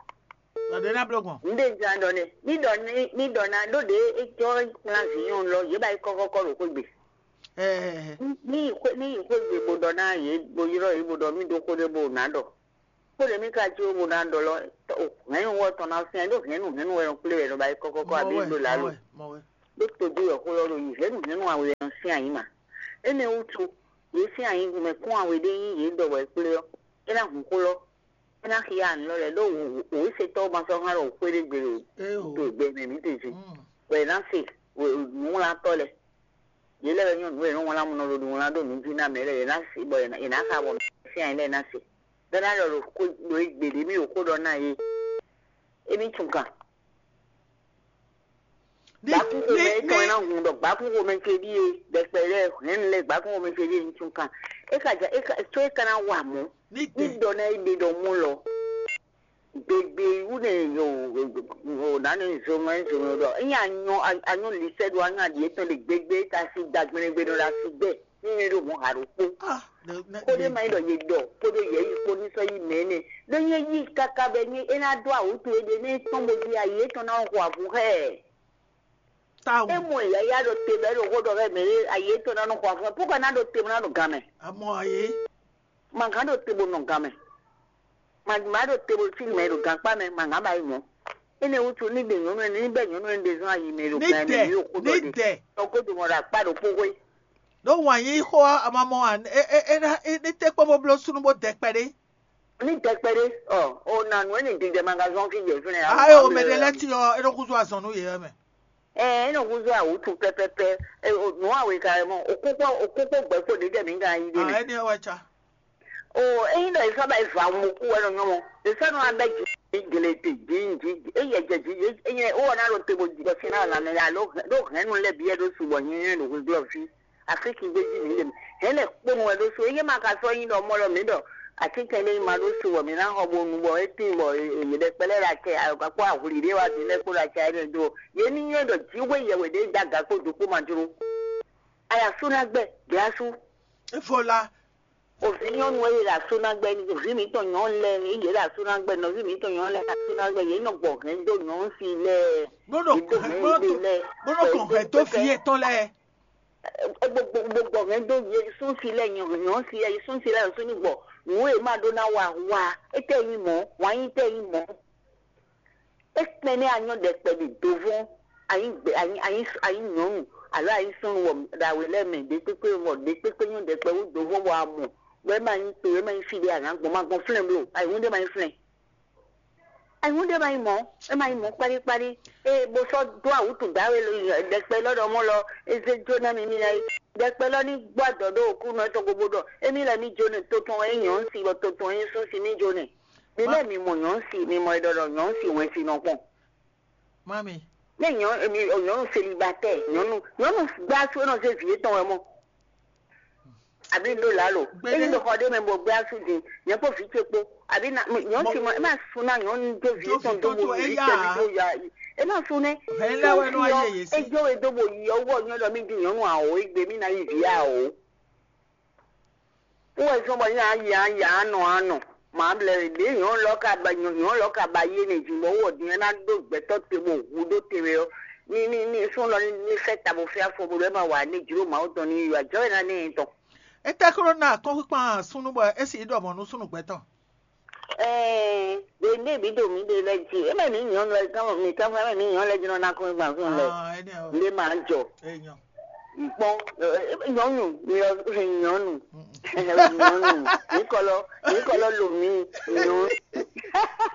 Ɖɔ ɖě ná bló gbɔn. Nde jɛ ɖɔ ne mi ɖɔ ni mi ɖɔ na ɖo ɖe etsɔ kplán vinyɔn lɔ yě ba yi kɔkɔkɔ ɖo xwegbe. Ɛɛ, Ni yi xwe ni yi xwegbe bo ɖɔ na yě bo yrɔ yě bo ɖɔ mi ɖo xó ɖé bo na ɖɔ. Xó ɖé mi ka jí bo na ɖɔ lɔ hɛn wɔ tɔn na fia ɖo hɛn nu hɛn wɛ kplé wɛ ɖo ba yi kɔkɔkɔ abi ɖo la lo. Mɔwɛ. Ɖo tojú wɛ xó lɔ ɖo yi hɛn nu hɛn wɛ nɔ fia yi ma. Ene wutu yě fia yi mɛ kún awe ɖé yi yě ɖɔ wɛ kplé ɔ. É ná hun xó lɔ. É ná xia anǔ lɔ lɛ ɖó wěsetɔ́ ma sɔ́ hán ɖo xwé ɖé gbe ɖo Eo. to gbɛ mɛ mǐ tɔn jí. Mm. Bɔ è nǎ se nǔwlátɔ́ lɛ́ɛ. Yě lɛ́ wɛ nyɔ́ nǔ e nɔ wlán nɔ ɖo nǔwlán ɖo nǔ jí ná mɛ lɛ́ɛ yě ná se bɔ yě ná xa bɔ mɛ sín ayi lɛ́ɛ ná se. Bɛ́ ná ɖɔ ɖo xó ɖo égbé ɖě mì ɖo xó ɖɔ ná yé. Émí tún kan. Ní Gbǎkúnxomɛ ní étɔn e ní ná hun ɖɔ gbǎkúnxomɛ ce ɖíe ɖɛkpɛ lɛ́ɛ hɛn lɛ́ɛ gbǎkúnxomɛ ce ɖíe ní tún kan. É ka ja é ka tó é ka ná wa mɔ̌. ní Ní tɛ. ɖɔ ná é ɖe ɖɔ mú lɔ. Gbegbe wú ne o o nane zomɛ zomɛ ɖɔ. Eyin anyɔ anyɔ lisɛ ɖo anyɔ aɖi etɔn ɖe gbegbe ta si da gbɛnɛgbɛ ɖo la si gbɛ. Ní nyɛ ɖo mɔ ha ɖokpo. Ah, ne ne Kóɖé ma yi ɖɔ yé ɖɔ kóɖó yɛ yi kpó ní sɔ yi mɛ nɛ. Ɖó nyɛ yi kaka bɛ nyɛ é ná ɖó awǔtu é ɖe ní tɔn bó di ayi étɔn ná xɔ avǔ xɛ. Tawu. É mɔ yaya ɖo te bɛ ɖo xó ɖɔ xɛ mɛ ayi étɔn ná nɔ xɔ avǔ xɛ. Púkɔ ná ɖo te bó ná ɖo gan mɛ. Amɔ ayé. Mangǎn ɖo te bó nɔ gan mɛ. Mangǎn ɖo te bó sí mɛ ɖo gankpá mɛ mangǎn ba yi mɔ. Énɛ́ wútu ní ɖe nyɔ̌nu ɛnɛ ní bɛ́ nyɔ̌nu ɛnɛ ɖe zɔ́n ayi mɛ ɖo Ní gan mɛ dɛ, ní ɖo xó ní ɖɔ ɖe. dɛ. Tɔgó ɖo mɔ ɖo akpá ɖokpó xwé. Ɖó wǎn yí xó ɔ́, amamɔ wan é é é ná é ní té kpɔ́n bó bló súnú bó dɛ kpɛɖé. Ní dɛkpɛ ɖé ɔ o na nǔ ɛnɛ didɛ magazɔn fi jɛ fúnɛ. Ayé o mɛ ɖé lɛ́ ti ɔ́, é nɔ húzú azɔn nú yě wɛ mɛ. Ɛ é nɔ húzú awǔtu pɛpɛpɛ. Nǔ awe ka mɔ òkúkpɔ òkúkpɔ gbɛkpɔ ɖě jɛ mǐ gan yí ɖé Ah, mɛ. Ɛni ɔ́ wɛ ca. O eyin ɖɔ ìfá bá ìfá mu kú wɛ nɔ nyɔmɔ ìfá nɔ abɛ jì gele te jì jì eyɛ jɛ jì eyɛ wɔ na ɖo te bo jɔ sin na la mɛ alo ɖo hɛn nu lɛ biɛ ɖo subɔ nyɛ ɖo hwe glɔ fi. Afriki gbé jì mí lɛ mɛ hɛn lɛ kponu wɛ ɖo so eye ma ka sɔ yin ɖɔ mɔ lɔ mí ɖɔ ati kɛn ɖe ma ɖo subɔ mí na xɔ bo nu bɔ etin bɔ yɛ ɖe kpɛlɛ la cɛ ayɔ kakpɔ ahuli ɖe wa bi lɛ kpo la cɛ ɛnɛ do yɛ ni nyɛ ɖɔ jiwe yɛ wɛ ɖe da ga kpo do kpo ma jlo. Aya su na gbɛ gbɛ asu. Efo la. Òfin nyɔnu eye ɖo asu na gbɛ ni òfin mi tɔn nyɔ lɛ eye ɖo asu na gbɛ nɔvi mi tɔn nyɔ lɛ asu na gbɛ yɛ nɔ gbɔ hɛn do nyɔ si lɛ. Bó nɔ kàn hɛn tó fi etɔn lɛ. Gbogbo hɛn do yɛ sún si lɛ nyɔ si lɛ sún si lɛ sún ni gbɔ nù e ma ɖó na wa wa etɛ yi mɔ wa yi tɛ yi mɔ. Ekpɛn ne anyɔ ɖɛkpɛ ɖi dovɔn anyi gbɛ anyi anyi anyi nyɔnu alo anyi sɔnu wɔ ɖawe lɛ mɛ ɖe kpekpe wɔ ɖe kpekpe nyɔ ɖɛkpɛ wú dovɔn wɔ amɔ wɛ ma nyi to wɛ ma nyi fi ɖe ana gbɔn ma gbɔn flɛn blo ayi ŋu ɖe ma nyi flɛn. Ayi ŋu ɖe ma nyi mɔ e ma nyi mɔ kpaɖi kpaɖi e bo sɔ do awutu dawe ɖɛkpɛ lɔ ɖɔ mɔ lɔ eze jo na mi mi na yi ɖɛkpɛ lɔ ni gbɔ adɔ ɖo oku nɔ etɔn gobo ɖɔ emi lɛ mi jo ne to tɔn e nyɔ si bɔ to tɔn e sún si mi jo ne. Mi lɛ mi mɔ nyɔ si mi mɔ e ɖɔ ɖɔ nyɔ si wɛn si nɔ kpɔn. Mami. Ne nyɔnu célibataire, nyɔnu nyɔnu gbá sú enɔ zé vǐ étɔn wɛ mɔ. Àbí ɖo lǎ lo. Éyí ɖo xɔ ɖé mɛ bɔ gbé asú din, nyɛ kpó vǐ ce kpó. Àbí na nyɔnu si mɔ é ma sú ná nyɔnu dó vǐ étɔn dó bo yi vǐ ce mi dó ya. É ma sú nɛ. Hɛn lɛ wɛ nɔ ayé yé sí. Ejó we dó bo yi ɔwọ́ nyɔnu ɖɔ mí di nyɔnu àwò égbé mí ná yi vǐ àwò. Wɔ zɔn bɔ nya ya ya nɔ anɔ. Maa blɛ ɖě nyɔ̌nu lɔ ka ba nyɔ̌nu lɔ ka ba yé ne jǐ bɔ wɔ din ná ɖó gbɛtɔ́ te bɔ hu ɖó te wɛ ɔ́. Ní ní ní sún lɔ ní fẹ́ ta bó fẹ́ afɔ bó lɔ ɛ ma wa ní jló Mawu tɔn ní yɔ ajɔ ɛ ná ní yɛn tɔn. Etɛ́ kó nɔ ná akɔ́nkpíkpan súnnu bɔ é sì ɖɔ mɔ̌ nú súnnu gbɛtɔ́. Ɛɛ ɖe ndé bǐ ɖo mǐ ɖe lɛ́ jí é mɛ mǐ nyɔ̌nu lɛ́ gán mǐ gán fún ɛ mɛ mǐ nyɔ̌nu lɛ́ jí nɔ ná kɔ́nkpíkpan súnnu lɛ́. Ah, ɛni ɔ. Ndé máa jɔ. Èèyàn. Kpɔn nyɔnu nyɔnu nyɔnu mikɔlɔ mikɔlɔ lomi nyɔnu.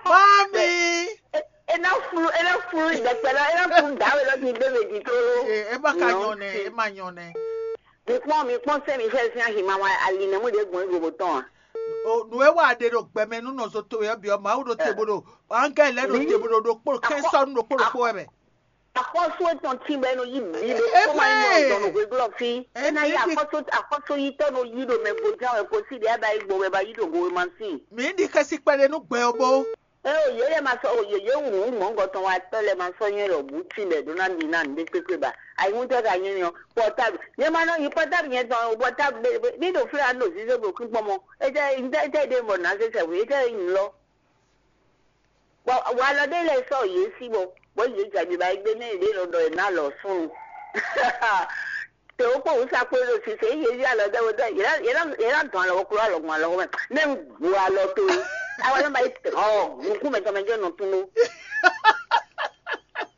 Mami. Ena flu ena flu dɛkpɛ lɔ ena flu dawe lɔ ti bɛ bɛ di toro. Ee, ema ka nyɔ nɛ, ema nyɔ nɛ. Mi kpɔn mi kpɔn sɛ mi fɛ fi ahi ma wa ali nɛ mu de gbɔn gbogbo tɔn a. O nu e wa ɖe ɖo gbɛmɛ nu nɔ so to yɛ biɔ mawu ɖo te bo ɖo angɛ lɛ ɖo te bo ɖo ɖo kpolo kɛnsɔnu ɖo kpolo kpo wɛ mɛ. Akɔsu etɔn ti bɛ no yi bi ɖo kɔma yi nɔ dɔn no gbegblɔ fi. Ena yi akɔsu akɔsu yi tɔ no yi ɖo mɛ gojan wɛ kosi de aba yi gbɔ wɛ ba yi ɖo go wɛ ma si. Mi ɖi xɛsi kpɛɖe nu gbɛ ɔ bo. Eo yeye ma sɔ o yeye wu nu mɔngɔ tɔn wa tɔ lɛ ma sɔ nyɛ lɔ bu ti bɛ ɖo na ɖi na nu ɖe kpekpe ba. Ayi ŋu tɛ ka nyɛ nyɔ pɔtabu nyɛ ma nɔ yi pɔtabu nyɛ tɔn o pɔtabu be be ni ɖo fúlɛ anu ɖo zizo ɖo kpikpɔn mɔ. Ete ete ete ɖe mɔ na se sɛ wu ete yi nu lɔ. Bɔ walɔ ɖé lɛ́ɛ sɔ́ yě sí bɔ bɔ yě jɛ aɖiba e gbé nɛ́ yě ɖe nɔ ɖɔ è nǎ lɔ súnnu. Tě wó kpó wǔ sa kpó ɖo sise yě yí alɔ ɖɛ wó ɖɛ yě ná yě ná yě ná dɔn alɔ wó kló alɔ gbɔn alɔ wó mɛ. Nɛ un gbo alɔ tó é. Awa nɔ ba yi tɛ ɔ nukún mɛ tɔn mɛ jɛ nɔ tún ɖó.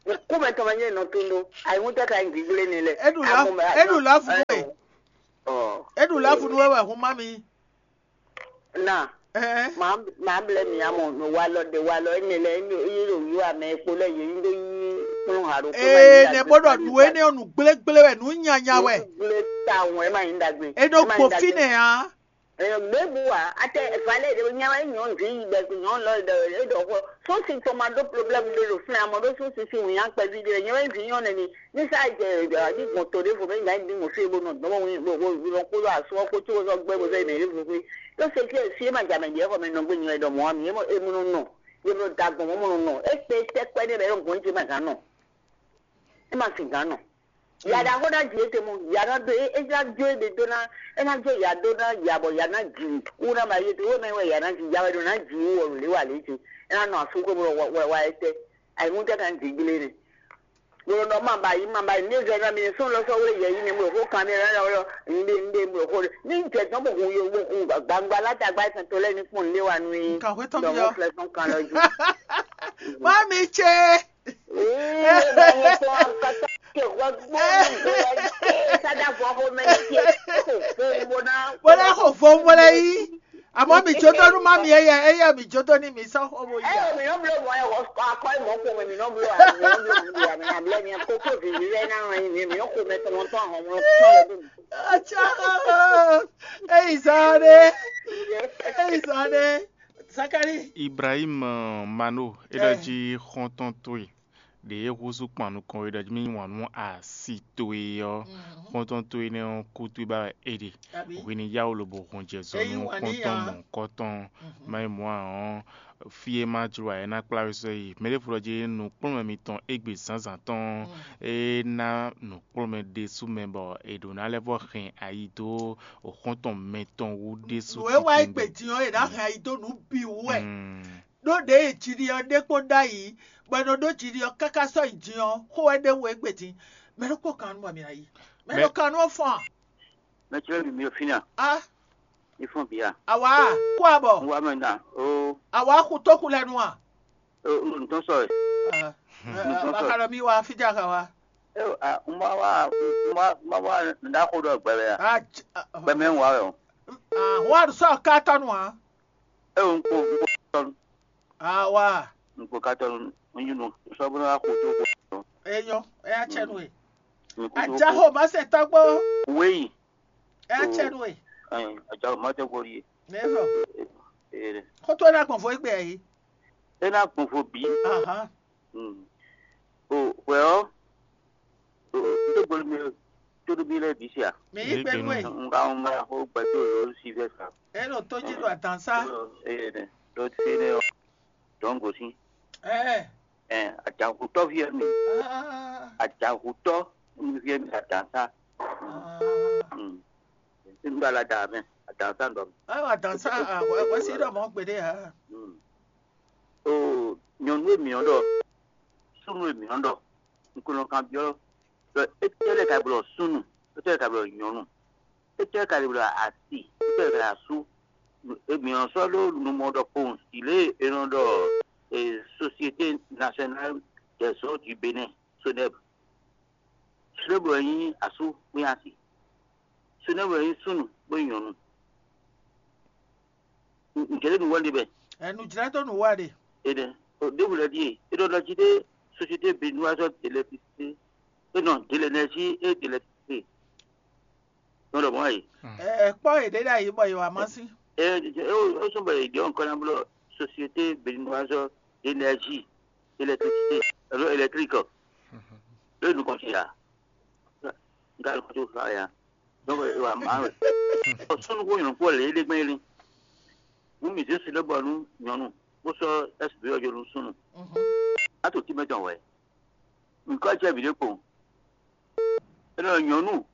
Nukún mɛ tɔn mɛ jɛ nɔ tún ɖó. Ayi ŋu tɛ ka yin gbigblé ni lɛ. Eɖu la eɖu la fu wɛ. Ɔ. Eɖu la fu wɛ wɛ hun ma mi. Na. Ɛɛ. Màá màá blɛ́ mì amɔ nɔ walɔ ɖe walɔ énɛ́ lɛ́ɛ é ɖo yí wɛ amɛ e kpo lɛ́ɛ yě ní ɖó yí kplɔ́n ha ɖokpó ma nyí ee ɖagbe ne bó ɖɔ nǔ énɛ́ ɔ́ nǔ gblégblé wɛ nǔ nyanya wɛ. Gblé tawun ɛ ma nyí ɖagbe. E nɔ gbo fínɛ́ ǎ. Ɖěbǔ ǎ, atɛ valé ɖé nya wɛ nyɔ̌nu ví yi bɛ́ nyɔ̌nu lɔ ɖɔ é ɖɔ xɔ sósi tɔn ma ɖó problème ɖé ɖo fínɛ́ amɔ ɖó sósi sín wǐnnya kpɛví ɖé nyɛ wɛ ví nyɔ́ nɛni. Ní sá jɛ ɖi gbɔn to ɖěvo mɛ nya ɖi mɔ fí e bó nɔ dɔn bó wín bó bó bó kpódó asú ɔ́ kpó có sɔ́ gbɛ́ bó zɔ́ yi mɛ ɖěvo xwé. Tó se fí e fí e ma jɛ amɛ ɖi ɔ́ xɔ mɛ nɔ gbé nyɔ ɛ ɖɔ mɔ̌ ǎ mì é mɔ é mɔ nɔ nɔ. Yě nɔ da gbɔn mɔ̌ mɔ nɔ nɔ. É kpe tɛ́ kpɛ́ ɖé mɛ é nɔ gbɔn jɛ ma gǎn nɔ. É ma fin gǎn nɔ. Ya ɖaxó ná ji étɛ́ mɔ ya ná dó é é ná jó é ɖe dó ná é ná jó ya dó ná ya bɔ ya ná ji wú ná ma yé te wó mɛ wɛ ya ná ji ya wɛ ɖo ná ji wú wɔ lě wa lě ce. É ná nɔ asú xwé bó wɛ wɛ wá étɛ́. Ayǐmútɛ́ kan jǐ gblé nɛ. Gblɔɖɔ ma ba yi ma ba yi ní zɛ ná mi sún lɔ sɔ́ wé yɛ yi ní mo xó kan mi rɛ lɔ ní ɖe ní ɖe mo xó ní jɛ dɔn bó hun yo bó hun gbangba lá ta gbá tɔn tó lɛ ní kpɔn ní wa nú yi. Nkan xwé tɔn dɔn byɔ́. Mo flɛ sɔn kan lɔ ju. Má mi tse. Ee ba yɛ tɔn akata ke xɔ gbó ní ìgbéra ní ké sada vɔ xó mɛ ní ké kó fún bó ná. Bó ná xo fún bó lɛ yí. Àmọ́ mi jó tó nú má mi ẹyẹ ẹyẹ mi jó tó ní mi sán xó bó yí. Ẹ mi nɔ blo mɔ ẹ akɔ ẹ mɔ kó mi nɔ blo mi nɔ blo mi blo mi ablɛ mi kókó vivi lɛ náà rán yín mi mi nɔ kó mɛ tɔmɔ tɔn àwọn ọmọ tɔn lọ bí mi. Atsá eyi zan ɖe eyi zan ɖe Zakari. Ibrahim Mano é ɖɔ jí xɔ́ntɔn towe ɖě é húzú kpan nukɔn é ɖɔ jí mì yí wǎn nú asi towe ɔ́, xɔ́ntɔn towe énɛ́ ɔ́ kú towe ba wɛ é ɖe. Hwi ní yá wǔ lobo hun jɛ zɔ nú xɔ́ntɔn mɔ̌hunkɔtɔn má nyí mɔ̌ ǎ ɔ́, fí e ma jló ǎ é ná kplá we sɔ́ yi. Mɛɖěvo ɖɔ jí nǔkplɔ́nmɛ mitɔn égbé zǎnzǎn tɔn ɔ́, é ná nǔkplɔ́nmɛ ɖésú mɛ bɔ è ɖǒ ná lɛ́ vɔ́ hɛn ayi dó xɔ́ntɔn mɛtɔn wú ɖésú. Nǔ e wá é gbè din ɔ́, è nǎ hɛn ayi dó nǔ bǐ wú wɛ. Ɖó ɖěe jiɖi ɔ́ ɖe kpó ɖ'ayǐ, bɔ è nɔ ɖó jiɖi ɔ́ káká sɔ́ yi din ɔ́, xó wɛ ɖ'é wú égbé din. Mɛ ɖokpó kan nú bɔ mǐ ná yi. Mɛ ɖo kan nú ɔ́ fɔ́n a? Mɛ ce lɛ́ɛ bǐ mi ɖo fínɛ́ a? A? Mi fɔ́n bǐ a? Awǎ, kú abɔ. Un wá mɛ ná. Oo. Awǎ xu tó xu lɛ nu a? Oo, un ɖo nǔ tɔn sɔ wɛ. Aa, Un ɖo nǔ tɔn sɔ wɛ. Bakalɔ mi wá fíjá ka wá. Ee, a, un ma wá, un ma, un ma wá nǔɖaxó ɖɔ gbɛ wɛ a? A, j-, a, Gbɛ mɛ un wá wɛ o. A, wá ɖo sɔ ká tɔnu a? Ee, un ko, un ko tɔnu. Awa. Nukpɔkatɔ nunyi nu sɔbɔnɔ axo tó ko. Eyɔ, eya tsɛ nu e. Ajaxo ma se tɔgbo. Weyi. Eya tsɛ nu e. Ɛn, ajaxo ma tɔgbo yi. Nɛfɔ. Ee. Xɔtɔ na gbɔn fɔ egbe yi. E na gbɔn fɔ bi. Ahan. O wɛ ɔ. Tó gbolo mi tó ɖo mi lɛ bi sia. Mi yi gbenu e. Nga nga xo gbɛtɔ lɔ si vɛ sa. E nɔ tó jí ɖo adan sá. Ee, ɖo te ne dɔn gosi. Ɛɛ. Ɛɛ, ajanxutɔ viɛ mi. Ajanxutɔ viɛ mi adan sá. N ba la da mɛ adan sá dɔ. Awa adan sá, wɛsi ɖɔ mɔ gbeɖe ha. O nyɔnu e mǐ ɔ́ ɖɔ, súnnu e mǐ ɔ́ ɖɔ, un ko nɔ kanbyɔ́ ɖɔ étɛ́ lɛ́ɛ ka blɔ súnnu, étɛ́ lɛ́ɛ ka blɔ nyɔ̌nu, étɛ́ lɛ́ɛ ka blɔ asi, étɛ́ lɛ́ɛ ka asú. Mǐ nɔ sɔ́ ɖó numɔ ɖɔkpowun si lě e è nɔ ɖɔ Société Nationale des Eaux du Bénin, SONEB. SONEB wɛ nyí asú kpín asi. SONEB wɛ nyí súnnu kpó nyɔ̌nu. Ǹjẹ́ lé mi wá ɖe bɛ? Ɛ nǔjlɛ́tɔ́ nǔ wá ɖe. Enɛ, ɖěbǔ lɛ ɖíe é ɖɔ ɖɔ jí ɖé Société Béninoise d'électricité, é nɔ de l'énergie et d'électricité. Nɔ ɖɔ mɔ̌ wɛ. Ɛ kpɔ́ yě ɖé ɖ'ayǐ bɔ yě wá má sí. É é sɔ́ bɔ yě ɖɔ nukɔn ná bló Société Béninoise d'énergie, électricité, alo électrique. Lé nukɔn sí ya. N ka nukɔn tó xa ya. Donc e wa ma wɛ. Ɔ sɔnnu ko nyɔ̌nu kpó lě é ɖe gbɛn é lin. Nú mǐ zé si ɖé bɔ nú nyɔ̌nu bó sɔ́ S B ɔ́ jó nú súnnu. A to tínmɛ tɔn wɛ. Nǔkɔ jɛ mǐ ɖé kpowun. É nɔ nyɔ̌nu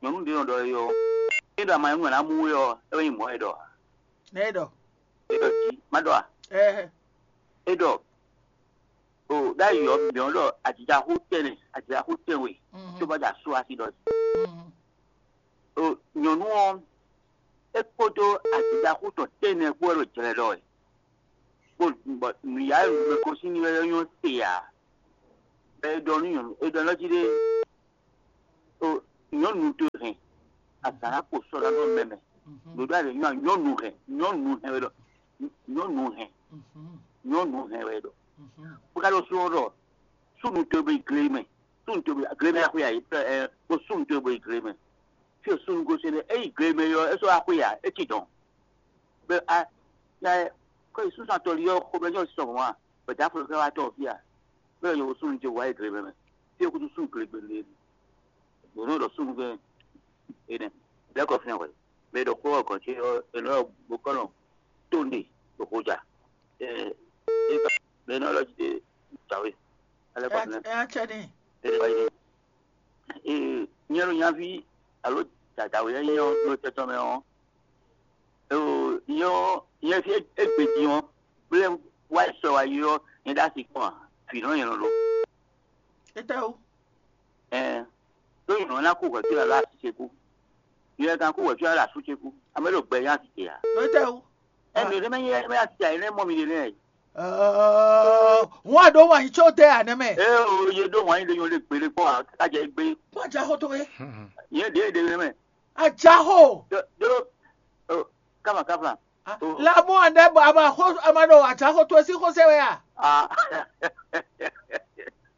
nyɔ̌nu ɖé nɔ ɖɔ é ɔ́. É ɖɔ ama nyɔ̌nu ná mú é ɔ́, é wɛ nyí mɔ̌ é ɖɔ. Nɛ é ɖɔ. É ɖɔ jí má ɖɔ a? Ɛɛ. É ɖɔ o ɖ'ayǐ ɔ́ mǐ ɔ́ ɖɔ ajijaxú tɛnɛ ajijaxú tɛnwe tó bá ɖo asú asi ɖɔ jí. O nyɔ̌nu ɔ́ é kpódó ajijaxú tɔn tɛnɛ kpó wɛ ɖo jlɛ ɖɔ wɛ. Kpó bɔ nǔyá e mɛ gosín n'i wɛ nyɔ́ te ǎ. Bɔ é ɖɔ nú nyɔ̌nu é ɖɔ nɔ́ jí ɖé o nyɔ̌nu towe hɛn azǎn ná kpo sɔ́ ná nɔ mɛ mɛ. Ɖoɖo ale nyɔ́ nyɔ́nu hɛn nyɔ́nu hɛn wɛ ɖɔ nyɔ́nu hɛn nyɔ́nu hɛn wɛ ɖɔ. Bó ká ɖo sɔ́ ɖɔ súnnu towe bó yi gle mɛ súnnu towe bó yi gle mɛ axwe ayǐ ɛ bó súnnu towe bó yi gle mɛ. Fí o súnnu gosín ɖe é yi gle mɛ ɔ́ é sɔ́ axwe ǎ é ci dɔn. Bɛ a ya kɔ yi súnnu atɔli ɔ́ xomɛ nyɔ́ sɔ mɔ̌ a bɛ dǎ flo fɛ́ wá tɔn fí a bɛ yɔ súnnu ce wá yi gle mɛ mɛ. Fí o kutu súnnu gle gbe lé. Bǒ nɔ ɖɔ súnnu gbe enɛ lɛ́ kɔ fínɛ́ hwɛ. Mɛ ɖɔ xó ɔ́ gɔ̌n ce ɔ́ è nɔ ɖɔ bó kɔ́ nɔ tó nɖe ɖo xo ja. Ɛ ɛ mɛ nɔ lɔ jí ɖe jǎwe. Alɛ kɔ fínɛ́. Ɛ ɛ cɛ ní. Ɛ wá yi. Ee nyɛ ɖo nyaví alo dadawe e nyí ɔ́ ɖo tɛtɔn mɛ ɔ́, oo nyɛ ɔ́ nyɛ fí égbé din ɔ́, blɛ́ wá yi sɔ wá yi ɔ́, nyɛ ɖó asi kpɔ́n a? Vǐ nɔ nyɛ nɔ ɖo. Étɛ́ o. Ɛɛ ɖó nyɛ nɔ ná kú hwɛ̌ fí alo asi ce kú. Nyɛ ka kú hwɛ̌ fí alo asú ce kú. Amɛ ɖo gbɛ nyɛ asi ce a? Étɛ́ o. Ɛ mi ɖé mɛ nyɛ mɛ asi ce a? Nyɛ nɛ mɔ mi ɖe nɛ. Wọ́n á ɖó wǎn yí có dé àná mɛ. Ɛ o ye ɖó wǎn yí ɖe nyɔ ɖe gbére kpɔ́n a kájɛ gbé. Kpɔ́n àjàxó towe. Yɛ ɖě ɖě nɛ mɛ. Àjàxó. Ɖó ɖó káfà káfà. Lámú àná bɔ a ma xó a ma ɖo àjàxó towe sín xósɛ wɛ a? Ah.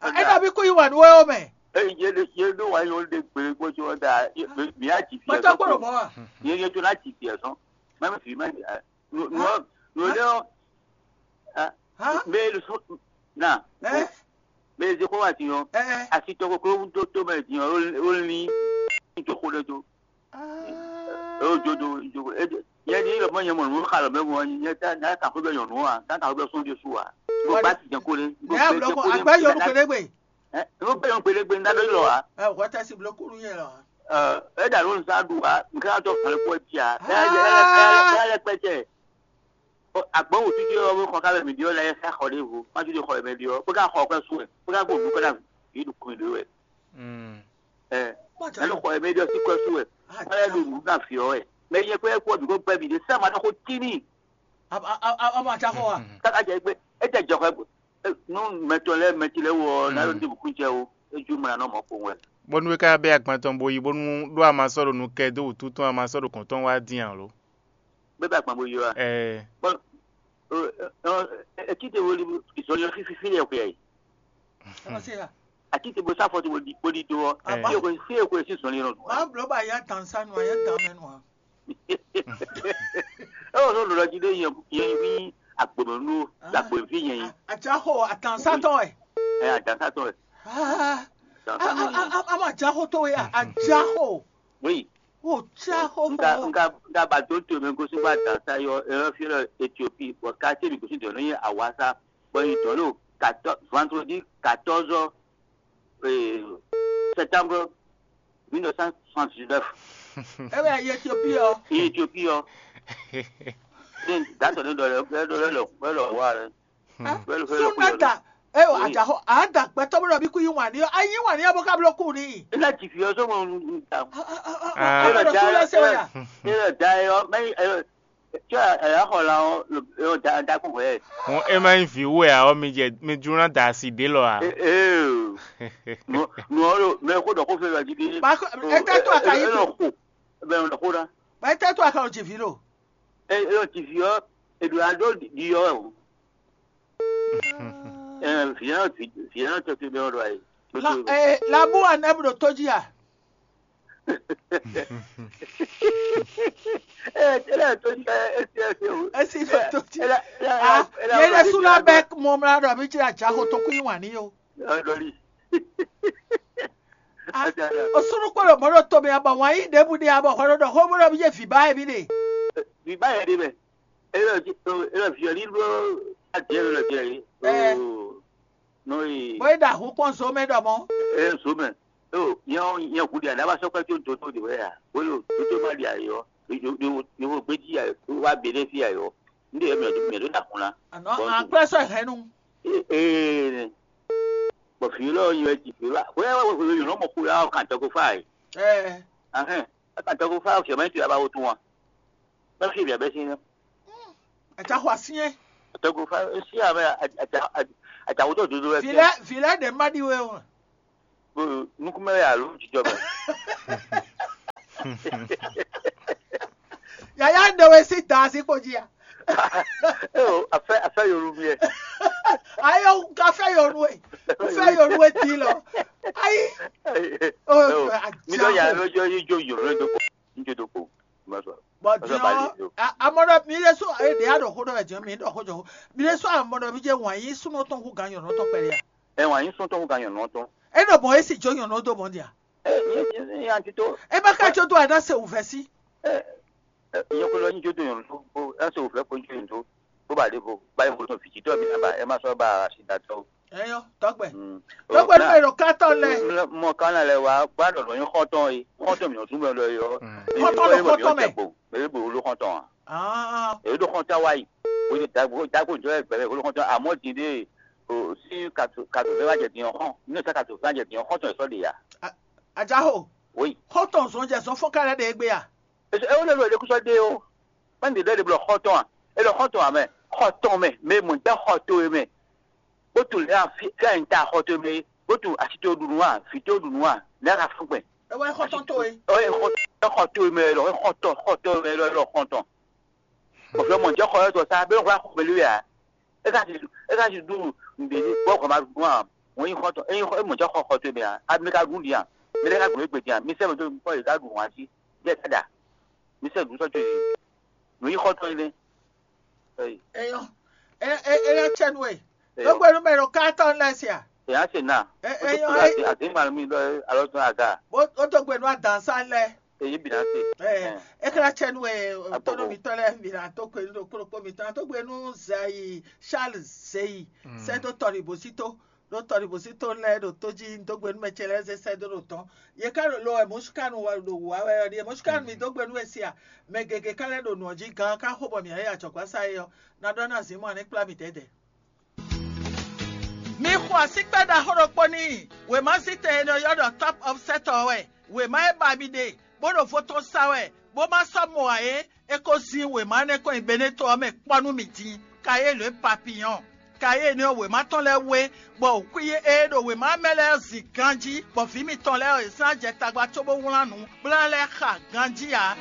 Ɛ dàbí kó yí wà nú wɛ ó mɛ. Ɛ yɛ ɖe yɛ ɖó wǎn yí ɖe gbére kpɔ́n tí wọ́n da mi á jì fi Pátá ẹ̀sán gbọ́dọ̀ kúrò. Mọ́ wa. Yɛ yɛ tó ná jì fi ẹ̀sán. Mɛ mi fi mɛ mi. Nǔ nǔ nǔ lé ɔ́. Hã? Mɛ e sɔ na. Ɛ? Mɛ e zé xó wa din ɔ́. Ɛ? Asi tɔ koklo wú dó tó mɛ din ɔ́ ó lin ní tó xó ɖé tó. Ó jó do jó do é yɛ ní lɔ mɔ nyɛ mɔ nǔ xa lɔ mɛ mɔ nyɛ tá ná kà xó bɛ nyɔnu wa ná kà xó bɛ sɔn Jesu wa. Mo Wọ́n gbá ní- ti jẹ kó lé. Mo Ní gbé àbúrò jẹ kó kó lé. Àgbá yọ olùkọ́ lé gbé. Ɛ mo gbé yɔn gbélé gbé ná lórí lɔ wa. Ɛ wọ́n tẹ́ sí blokúrú yẹn lọ. Ɛ ɛ dà ló ń sá dùn wa nǹkan àtọ̀ kan lè pọ̀ jà. Ẹ ẹ ẹ ẹ lẹ pẹ́tẹ́. Àgbọ̀n wò títí ọwọ́ kan kábẹ̀ mi di ọ́ la yẹ ká xɔ ɖé vo má tún lè xɔ ẹ̀mẹ́ di ọ́ pé ká xɔ ọ̀pẹ́ sùn ẹ̀ pé ká gbòòdù kọ́dà yìí dùn kún ìlú ẹ̀. Ẹ ẹ ló xɔ ẹ̀mẹ́ di ọ́ sí kọ́ sùn ẹ̀ wọ́n yẹ lò nù náà fi ọ́ ẹ̀ mẹ yẹ pé ẹ̀ kú ọ̀dùn kó bẹ́ mi dé sẹ́ẹ̀ máa dán kó tí nì. Ọmọ àti afọ wa. Káká jẹ pé ẹ tẹ jẹ xɔ ẹ nú mẹtọ lẹ mẹtí lẹ wọ náà ló dìbò kún jẹ o ejú mọ àná mọ kó wẹ. Bónú é ká bɛ́ agban tɔn bo yi bónú ɖó a ma sɔ́ ɖo nu kɛ dó wǔtu tɔn a ma sɔ́ ɖo kɔ̌n tɔn wá dín ǎ lo. Bébà gbɔn bo yɔ wa. Ɛɛ. Bɔn etí te woli ìsọyọ fífi fílẹ̀ ọ̀pẹ̀ yìí. Ẹ ma se ya. Àti te bo sáfọ te bo di bo di do ọ. Ẹ. Fíyẹ kò fíyẹ kò sí sọ̀rọ̀ yẹn nọ. Máa blɔ bá yá dan sanu a yá dan mẹnu a. Ẹ wọ́n sọ lọ́dọ̀ jí dé yẹn yẹn wí agbèmọ̀nú agbèmọ̀fí yẹn yìí. Àti àhọ àtànsátọ̀ ẹ̀. Ẹ àtànsátọ̀ ẹ̀. Ama jaho to ya ajaho. Oui. O jaho. Nga nga nga ba to to me gosi ba da sa yo e fi lo Ethiopie bo ka te mi gosi do ni awasa. Bon, il donne au quatorze vendredi quatorze euh, septembre mille neuf cent soixante-dix-neuf. Ebe ayi Ethiopie ɔ. Ethiopie ɔ. Ni dátɔ ne dɔ lɛ dɔ lɛ lɔ lɔ wa lɛ. Sunata. Eyo ajaho ada gbɛtɔ bɛ dɔ bi ku yi wani yɔ ayi wani yɔ bɔ ka blo ku ni. Ina ti fi ɔsɔ mo nu ta. Ɔmɔ dɔ tu lɛ se wa ya. Ina da yɔ mɛ yɔ tí a yà xɔ la ɔ yɔ da da kú wɛ. Wọn e ma nyí vǐ wɛ ǎ ɔ́, mi jɛ mi jló ná da asi ɖě lɔ ǎ. Ee nu ɔ́ ɖo mɛ xó ɖɔ xó fɛ wɛ gidi. Ba ko ete to aka yi ko. Bɛ ɔn ɖɔ xó ɖa. Ba ete to aka ɔ dzi vi lo. Ee ɔ dzi vi ɔ eɖo aɖo ɖi ɔ o. Ee viɛ ɔ dzi viɛ ɔ tɔ ti bɛ ɔ ɖo ayi. La ee labu anɛ bu ɖo to dzi a. Esi ɖo to dzi. Esi ɖo to dzi. Yɛlɛ sula bɛ mɔmla ɖɔ mi tsi adza xɔ tokun yi wani yo. Osunu kpɔlɔ mɔ ɖo to mi abɔ wan yi ɖebu ɖe abɔ xɔ ɖo xɔ bɔ ɖɔ mi ye vi ba ye mi ɖe. Vi ba yɛ ɖe mɛ. Ele vi ɔli ɖo adiɛ le le. Nɔ yi. Bɔ e ɖa hu kpɔn zo mɛ ɖɔ mɔ. Ee zo mɛ. Ee nyɛ nyɛ hu ɖi aɖaba sɔkpɛ tso dodo de wɛ ya. Wolo dodo ma ɖi ayɔ. Yovo gbeji ya wa bene fi ayɔ. Nde yɛ mɛ do mɛ do da kun la. Anɔ akplɛ sɔ hɛn nu. Ee, bɔ fi lɔ yɔ ti fi la. Wɛ wɛ wɛ yɔ mɔ ku la kan tɔgɔ fa yi. Ɛɛ. Ahɛn. Kan tɔgɔ fa fi mɛ ti la ba wo tun wa. Bɛ fi bia bɛ sin. Ata xɔ asinyɛ. Tɔgɔ fa si a bɛ ata ata wo to dodo bɛ. Filɛ filɛ de ma di we o. Nukunmɛ ya alo jijɔ mɛ. Yaya ɖe we si da asi kpo jí ya. Eo, afɛ afɛ yolu miɛ. Ayo, ka fɛ yolu e. Fɛ yolu e ti lɔ. Ayi. Mi dɔ ya lɔ jɔ yi jo yolu e do ko. N jo do ko. Ma sɔ. Bɔn diɔ amɔdɔ mi lɛ so e de aɖɔ xo ɖɔ wɛ diɔ mi ɖɔ xo jɔ xo mi lɛ so amɔdɔ mi jɛ wɔn yi sunɔ tɔn ko gan yɔnɔ tɔn pɛlɛ ya. Ɛ wɔn yi sunɔ tɔn ko gan yɔnɔ tɔn. E nɔ bɔn e si jo yɔnɔ do bɔn dia. Ɛ ɛ ɛ yan ti to. E ma ka jo do ana se wuvɛ si. Ɛ ɛ yɔkɔlɔ nyi jo do yɔnɔ tɔn ko ɛsɛ wuvɛ ko jo yɔnɔ tɔn. Bó ba ɖěvo ba yi vo tɔn vǐjítɔ́ mi ná ba ɛ má sɔ́ ba asi da tɔn. Ɛyɔ, tɔgbɛ. Tɔgbɛ nú mɛ ɖo kátɔ lɛ. Mɔ kánà lɛ wá gbá ɖɔ̌ɖɔ́ nyí xɔ́ntɔn e xɔ́ntɔn mǐ nɔ zún mɛ lɔ yɔ. Xɔ́ntɔn ɖo xɔ́ntɔn mɛ. Mɛ ɖě bo ló xɔ́ntɔn a? Èyí ɖo xɔ́ntɔn wá yi. Wòye dagbo dagbo jɔ gbɛmɛ wòló xɔ́ntɔn àmọ́ din ɖé o sí kàtó kàtó fẹ́ wá jɛ din ɔ́ xɔ́n nínú sá kàtó fẹ́ wá jɛ din ɔ́ xɔ́ntɔn ɛ sɔ́ ɖe ya. Ajaho. Wòyi. Xɔ́ntɔn zɔn jɛ zɔn fɔ́n ká lɛ́ ɖe égbé a? Ɛ wó lɛ ɖo èɖékúsɔ ɖé o. Má ɖe lɛ́ ɖe blɔ xɔ́ntɔn a? È ɖɔ xɔ́ntɔn ǎ mɛ, xɔ tɔn mɛ, mɛ mɔ̌ jɛ xɔ towe mɛ. Bó tunwun lě a fí fí a nyǐta xɔ towe mɛ é, bó tunwun asi towe ɖu nǔ a, vǐ towe ɖu nǔ a, lě a ka fún gbɛn. Ewɔ xɔ́ntɔn towe. Ɔ é xɔ é xɔ towe mɛ lɔ, é xɔ tɔ xɔ towe mɛ lɔ é lɔ xɔ́ntɔn. Bɔ̌ fí ɔ́ mɔ̌ jɛ xɔ ɔ́ tɔ sá, bɛ́ xwlá xɔ mɛ lé a? É ka si é ka si ɖu nǔɖé ní gbɔ xɔ ma ɖu a? Wọ́n nyí xɔ́ntɔn é nyí é mɔ̌ jɛ xɔ xɔ towe mɛ a? Abí ka ɖu nǔɖé a? Mi lɛ́ ka ɖu nǔ e gbe din a? Mi sɛ́ mɛ dó mi kpɔ́n yě ká ɖu wǎn jí. Jɛ tada. Mi sɛ́ nǔ sɔ́ co yě. Nǔ nyí xɔ́ntɔn énɛ́. Ɛyɔ. Ɛ ɛ ɛ yɔ cɛ nú ɛ. Dógbenu mɛ ɖo kántɔn lɛ sia. Èyàn ṣe nà. Ɛ ɛ yɔ ɛ. Àti màlúmi lọ alọ́ tún àga. Bó ó dógbenu adansa lɛ. Èyí bìnà ṣe. Ɛ ɛ kla cɛ nú ɛ tɔnɔ mi tɔ lɛ mi na tó kpe nínú kplɔkpɔ mi tán tó gbenu zayi Charles zeyi sɛ tó tɔni bó sí tó. Ɖó tɔɖi bǔsí tɔn lɛ́ɛ ɖo tó jí dó gbe nú mɛ ce lɛ́ɛ zé sɛ́ dó ɖo tɔn. Yě ká ɖo lo wɛ mɔ̌súkánu wɛ ɖo wǔ wá wɛ ɔ́ ɖíe mɔ̌súkánu mi dó gbe nú we se a? Mɛ gěgé ká lɛ́ ɖo nǔ ɔ́ jí gán ká xo bɔ mǐ ná yi ajɔ̌gbásá é ɔ́, ná ɖɔ ná zǐn mɔ a ní kplá mì dɛ̌dɛ̌. Mi xo asíkpɛ́ ɖaxó ɖokpó n'i. Wěmazítɛn e nɔ ylɔ́ ɖɔ Top of Set ɔ́ wɛ. Wěma e ba mi ɖe, bó ɖo vo tɔn sa wɛ, bó ma sɔ́ mɔ ǎ é, é ko zín wěma énɛ́ kɔn nyi Beneto ɔ́ mɛ kpɔ́ nú mì din. Kayélu e papiyɔ́n. Kayélu ɔ́ wěma tɔn lɛ́ɛ wé, bɔ wǔkwíyí e ɖo wěma mɛ lɛ́ɛ zin ganjí, bɔ vǐ mitɔn lɛ́ɛ ɔ́, è zán jɛ tagba cóbó wlán nǔ, bó ná lɛ́ xa ganjí ǎ.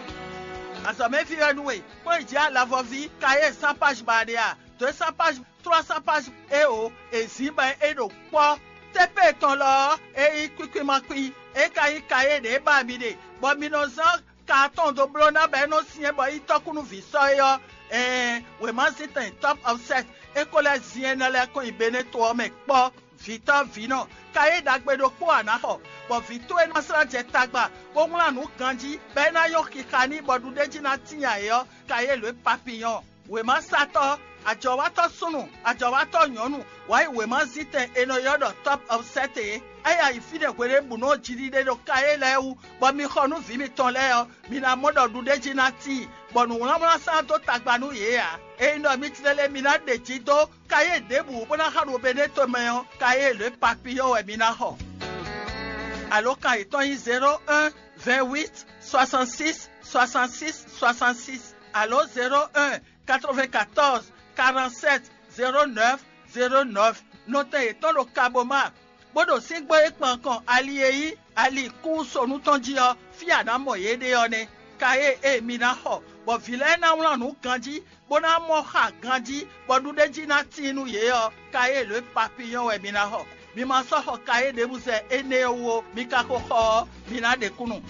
Azɔ̌mɛví wɛ nú we, kpɔ́n yi jǐ alavɔví, Kayélu sán páj ba ɖe a? Dǒ e sán páj, tlɔ́ sán páj e o, è zǐn bɔ é ɖo kpɔ́. Tépée tɔn lɔ ɔ́, é nyí kwíkwímakwín, é ka nyí Kayélu e ba mi ɖe, bɔ mi nɔ zán ka atɔn dó bló ná bɔ é nɔ́ syɛ́n bɔ é nyí tɔ́kúnúví sɔ́ é ɔ́, ɛɛn, wěmazíntɛn Top of Set é ko lɛ́ zin énɛ́ lɛ́ɛ kɔn nyi Beneto ɔ́ mɛ kpɔ́. Vǐtɔ́ vǐnɔ, Kayélu ɖagbe ɖokpó a nǎ xɔ, bɔ vǐ towe ná slá jɛ tagba, bó wlán nǔ ganjí, bɔ é ná nyɔ́ xixa n'i bɔ ɖuɖéjí ná tíin ayǐ ɔ́, Kayélu e papiyɔ́n. Wěmasatɔ́, ajɔ̌watɔ́ súnnu, ajɔ̌watɔ́ nyɔ̌nu, wǎ yi wěmazíntɛn è nɔ ylɔ́ ɖɔ Top of Set é. É yi ayǐ fínɛ́ hweɖěbǔnu ɔ́ jiɖiɖe ɖo Kayélu lɛ́ɛ wú, bɔ mi xɔ nú vǐ mitɔn lɛ́ɛ ɔ́, mi ná mɔ ɖɔ ɖuɖéjí ná tíin, bɔ nǔwlánwlán sán dó tagba nú yě ǎ. Ényí ɖɔ mi tlélé mi ná ɖe jǐ dó Kayélu ɖěbǔ bó ná xa ɖo Beneto mɛ ɔ́, Kayélu e papiyɔ́ wɛ mi ná xɔ. Alǒkan yětɔn nyí zéro un, vingt huit, soixante six, soixante six, soixante six, alo zéro un, quatre vingt quatorze, quarante sept, zéro neuf, zéro neuf. Nɔtɛn yětɔn ɖo Kaboma, bó ɖo síngbó e kpan kɔn ali e nyí ali kúnsonu tɔn jí ɔ́, fí a nǎ mɔ yě ɖe ɔ́ nɛ́. Kayélu e mi ná xɔ, bɔ vǐ lɛ́ɛ ná wlán nǔ ganjí, bó ná mɔ xa ganjí, bɔ ɖuɖéjí ná tíin nú yě ɔ́, Kayélu e papiyɔ́n wɛ mi ná xɔ. Mi ma sɔ́ xɔ Kayélu ɖěbǔ zɛ énɛ́ ɔ́ wú ó, mi ka ko xɔ ɔ́, mi ná ɖe kúnnu.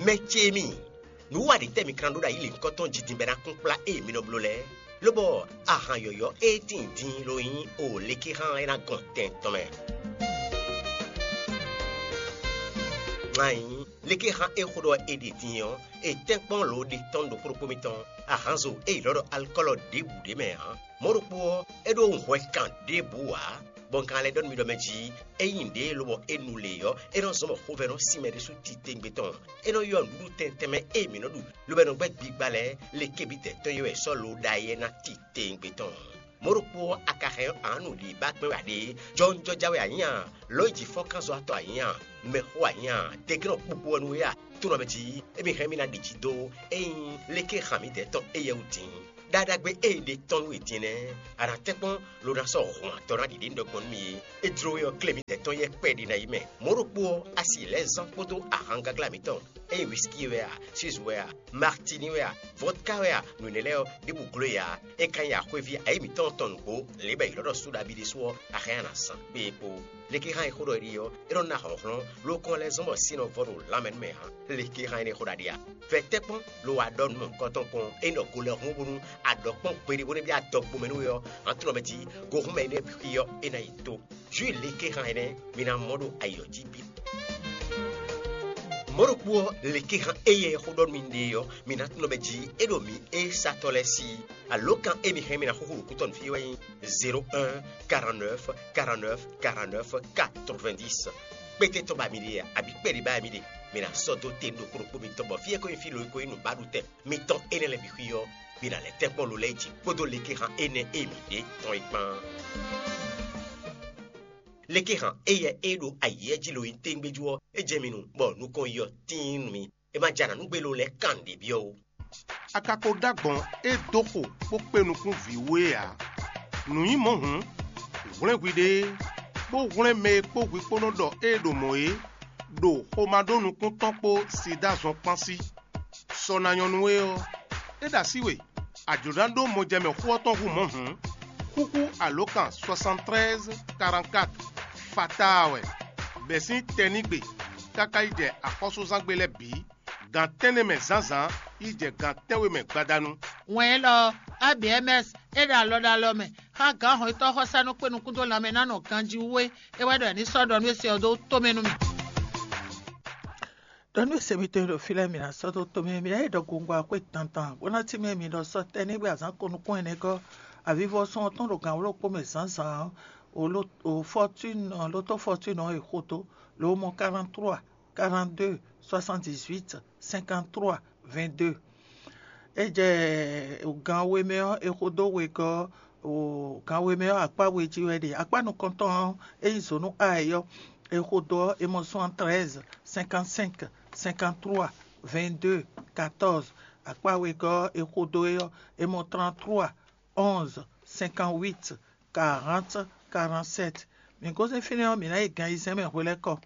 Mɛ ce mi, nǔ wa ɖě tɛ́ mi ka ná ɖó ɖo ayǐ lěhunkɔtɔn jijin bɔ é ná kún kplá ée mi nɔ bló lɛ́ɛ? Lobɔ ahan yɔ̌yɔ́ e tíin din ló nyí o lékíhan e ná gɔn tɛn tɔn mɛ. Ŋa nyi lékíhan e xó ɖɔ è ɖe din ɔ́, è tɛ́nkpɔ́n lǒ ɖe tɔn ɖo xóɖokpó mitɔn. Ahanzo e è ylɔ́ ɖɔ alikɔ́lɔ ɖěbǔ ɖ'é mɛ ǎ. Mɔ̌ ɖokpó ɔ́, é ɖó hwɛ kan ɖěbǔ ǎ. Bɔ un ka lɛ́ ɖɔ nú mi ɖɔ mɛ jí, ényí nǔɖé lobɔ é nu lě ɔ́, é nɔ zɔ́n bɔ xovɛ́ nɔ sin mɛ ɖésú titewungbe tɔn. É nɔ ylɔ́ nǔɖuɖu tɛnmɛ tɛnmɛ e mǐ nɔ ɖu, lobo é nɔ gbɛ́ gbigba lɛ́ɛ lekébítɛ́ tɔn e wɛ è sɔ́ lo ɖ'ayǐ é ná titewungbe tɔn. Mɔ̌ ɖokpó ɔ́, a ka hɛn ǎ nǔɖiɖi ba kpɛ́n wɛ a ɖe? Jɔwunjɔja wɛ a nyí a? Lɔ̌nyijǐfɔ́nkánzɔ́watɔ́ a nyí a? Mɛxó a nyí a? Tɛ́nkɛ́nnɔ kpukpu wɛ nú we a? Tónɔ mɛ jí, émí hɛn mì ná ɖi jǐ dó, ényí léké han mǐdɛɛ tɔn éyɛ́ wú din. Ɖaɖagbe e è ɖe tɔn nú we din nɛ́, a nǎ tɛ́nkpɔ́n lo ná sɔ́ hɔn atɔn ná ɖi ɖě un ɖɔ gbɔn nú mi é. É jló we ɔ́, klé mǐdɛɛ tɔn yɛ́ kpɛɖé ná yi mɛ. Mɔ̌ ɖokpó ɔ́, a si lɛ́ zán kpódó ahangagla mǐtɔn, ényí whisky wɛ a, suze wɛ a, martini wɛ a, vodka wɛ a, nǔ énɛ́ lɛ́ɛ ɔ́, ɖěbǔ gló e ǎ. É ka nyí axwéví ayǐ mǐtɔn tɔn nǔgbó, lě bɔ è ylɔ́ ɖɔ Suɖabíɖésú ɔ́, a hɛn nyi a nǎ zán. Kpé e kpo. Léké hán e xó ɖɔ é ɖi ɔ́, é nɔ ná hlɔ̌nhlɔ́n, ló kɔn lɛ́ zɔ́n bɔ sin nɔ vɔ ɖo lanmɛ nú mɛ hán. Léké hán énɛ́ xó ɖaɖe a? Vɛ tɛ́ kpɔ́n lo wá ɖɔ nǔ mɔ̌hunkɔtɔn kpɔ́n, ényí ɖɔ go lɛ́ hún bónú a ɖɔ kpɔ́n gbeɖé bó ná byɔ́ adɔgbomɛ nú we ɔ́, hǎntunɔ mɛ jí, go hún mɛ énɛ́ xwí ɔ́, é ná yi tó. Jǔ léké hán énɛ́ mi ná mɔ ɖo ayǐ ɔ́ jí bǐ. Mɔ̌ ɖokpó ɔ́, léké hán éyɛ́ xó ɖɔ nú mi ɖe ɔ́, mi ná tunɔ mɛ jí, é ɖo mǐ é satɔ́ lɛ́ɛ sí. Alǒkan e mi hɛn mi ná xúxú ɖo kútɔ́ nú fí wɛ nyí zéro un, quarante-neuf, quarante-neuf, quarante-neuf, quatre-vingt-dix. Kpété tɔn ba mi ɖe a, abǐ kpɛɖé ba mi ɖe, mi ná sɔ́ dó te ɖokpó ɖokpó mitɔn bɔ fí e ko nyí fí lo e ko nyí nǔbaɖutɛn mitɔn énɛ́ lɛ́ɛ bǐ xwí ɔ́, mi ná lɛ́ tɛ́nkpɔ́n lo lɛ́ɛ jí kpódó léké hán énɛ́ e mi ɖe tɔn é kpán. Léké hán éyɛ́ e ɖo ayǐ jí lo nyí téŋgbéjú ɔ́, é jɛ mi nu bɔ nukɔn yi ɔ́ tíin nú mi. É ma jɛ anǎ nú gbé lo lɛ́ɛ kan nǔɖé byɔ́ ó. A ka ko ɖó agbɔ̌n e dó xo bó kpé nukún vǐ wú é ǎ. Nǔ nyí mɔ̌ hǔn, hwlɛ́n hwiɖée, bó hwlɛ́n mɛ e kpó hwi kpó nɔ ɖɔ ée ɖo mɔ̌ é, ɖo xomɛ ɖó nukún tɔn kpó Sidáa zɔn kpán sí. Sɔ ná nyɔ́ nú we ɔ́, é ɖo así we, a jlǒ ná ɖó mɔjɛmɛ xó ɔ́ tɔn hú mɔ̌ hǔn, xúxú alǒkan soixante-treize quarante-quatre fatáa wɛ, bɛ̌ sín tɛnígbe káká yi jɛ axɔ́súzángbe lɛ́ɛ bǐ, gan tɛ́nnɛ mɛ zǎnzǎn yi jɛ gan tɛ́nwe mɛ gbadanu. Wɛn élɔ́ ɔ́, A B M S é ɖo alɔ ɖo alɔ mɛ xá gǎn hɔnnyitɔ́ xɔsánú kpé nukún dó lanmɛ ná nɔ ganjí wú é. É wɛ ɖɔ è ní sɔ́ ɖɔ nú é se ɔ́ dó tomɛ nú mì. Ɖɔ nú se mitɔn e ɖo fí lɛ́ɛ, mǐ ná sɔ́ dó tomɛ, mǐ ná yi ɖɔ gongwa xwé dandan, bó ná cí mɛ mǐ ɖɔ sɔ́ tɛ́ ní gbé azǎn ko nukún ɛnɛ gɔ́. Avivɔsɔn ɔ́ tɔn ɖo gǎn wló kpó mɛ zǎnzǎn ɔ́, o ló o Fortune ɔ́, lótó Fortune ɔ́ e xo dó, lo mɔ quarante-trois, quarante-deux, soixante-dix-huit, cinquante-trois, vingt-deux. É jɛ gan we mɛ ɔ́, è xo dó wegɔ́ ɔ́, o gan we mɛ ɔ́, akpá we jí wɛ ɖe. Akpá nukɔntɔn ɔ́, é nyí zǒnú A ɔ́, è xo dó ɔ́, è mɔ soixante-treize, cinquante-cinq, cinquante-trois, vingt-deux, quatorze. Akpá wegɔ́ ɔ́, è xo dó é ɔ́, è mɔ trente-trois, onze, cinquante-huit, quarante, quarante-sept. Mǐ gosín fínɛ́ ɔ́, mǐ ná yi gan ayizɛ́n mɛ hwelɛ́kɔ.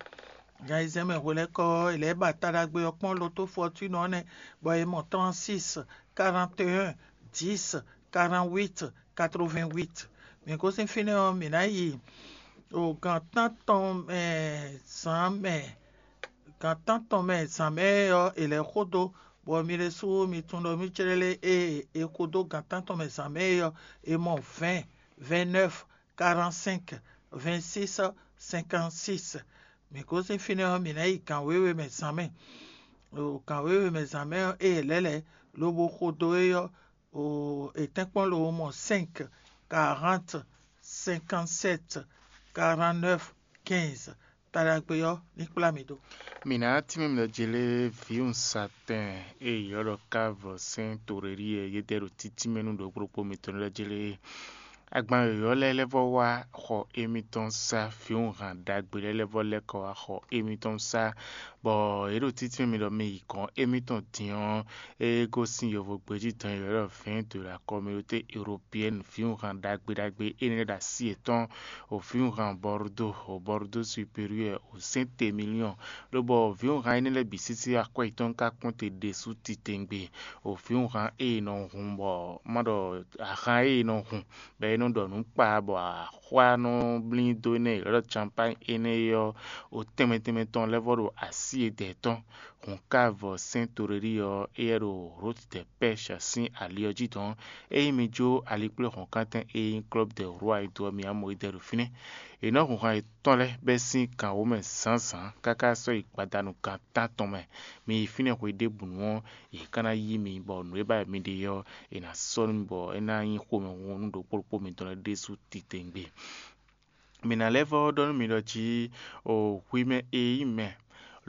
Gan ayizɛ́n mɛ hwelɛ́kɔ ɔ́, è lɛ̌ ba taɖagbe ɔ́ kpɔ́n lótó Fortune ɔ́ nɛ́, bɔ è mɔ trente-six, quarante et un, dix, quarante-huit, quatre-vingt-huit. Mǐ gosín fínɛ́ ɔ́, mǐ ná yi o gan tántɔn mɛ zǎn mɛ, gan tántɔn mɛ zǎn mɛ ɔ́, è lɛ̌ xo dó, bɔ mi ɖésú mi tunwun ɖɔ mì céɖélé ée è xo dó gan tántɔn mɛ zǎn mɛ é ɔ́, è mɔ vingt, vingt-neuf, quarante-cinq, vingt-six, cinquante-six. Mǐ gosín fínɛ́ ɔ́, mǐ ná yi gan wěwe mɛ zǎn mɛ. O gan wěwe mɛ zǎn mɛ ɔ́, ée è lɛ̌ lɛ̌ lobo xo dó é ɔ́, o è tɛ́nkpɔ́n lo mɔ cinq, quarante, cinquante-sept, quarante-neuf, quinze. Taɖagbe ɔ́ ní kplá mi dó. Mǐ ná tínmɛ mitɔn jlé vǐwunzatɛn e è ylɔ́ ɖɔ Kávɔ sɛ́n Torelíɛ yédɛ́ ɖo títínmɛ nú ɖokpóɖokpó mitɔn lɛ́ɛ jlé. Agban yɔ̌yɔ́ lɛ́ɛ lɛ́ vɔ́ wá xɔ émítɔn sá, vǐwunhan ɖagbe lɛ́ɛ lɛ́ vɔ́ lɛ́ kɔ wá xɔ émítɔn sá, bɔ yě ɖo títínmɛ mi ɖɔ mi yi gɔ̌n émítɔn din ɔ́, é gosín yovogbejí dɔn e è ylɔ́ ɖɔ vɛ̌ɛn de la communauté européenne, vǐwunhan ɖagbe ɖagbe énɛ́ lɛ́ɛ ɖo así yětɔn, o vǐwunhan Bordeaux, o Bordeaux supérieur, o Saint-Émilion, lobɔ vǐwunhan énɛ́ lɛ́ɛ bǐ sísí akwɛ́ yětɔn ka kpɔ́n te ɖésú titewungbe, o vǐwunhan e è nɔ hun bɔ má ɖɔ ahan e è nɔ hun bɔ é nɔ ɖɔ nǔ kpa bɔ axwá nɔ blín dó énɛ́ e è ylɔ́ ɖɔ campány énɛ́ é ɔ́, o tɛnmɛ tɛnmɛ tɔn lɛ́ vɔ́ ɖo así e dɛ̌ tɔn. Hǔn ka vɔ sɛ́n Torelíɛ ɔ́, éyɛ́ ɖo Rotdɛpɛ́sh sín ali ɔ́ jí dɔn. Ényí mi jó alikpléhɔ̌nkántɛn e nyí Club des Rois e do ɔ́, mi ná mɔ yi dɛ ɖo fínɛ́. È nɔ́ hun han yětɔn lɛ́ɛ bɛ́ sín gan wǒ mɛ zǎnzǎn káká sɔ́ yi gbadanu gan tántɔn mɛ. Mi yi fínɛ́ hwe ɖěbǔnu ɔ́, yě ká ná yí mi, bɔ nǔ e ba wɛ mi ɖe ɔ́, è nǎ sɔ́ nú mi, bɔ é ná nyí xomɛhunhun nú ɖokpó ɖokpó mitɔn lɛ́ɛ ɖésú titewungbe. Mǐ ná lɛ́ vɔ́ ɖɔ nú mi ɖɔ jí o hwi mɛ e nyí mɛ,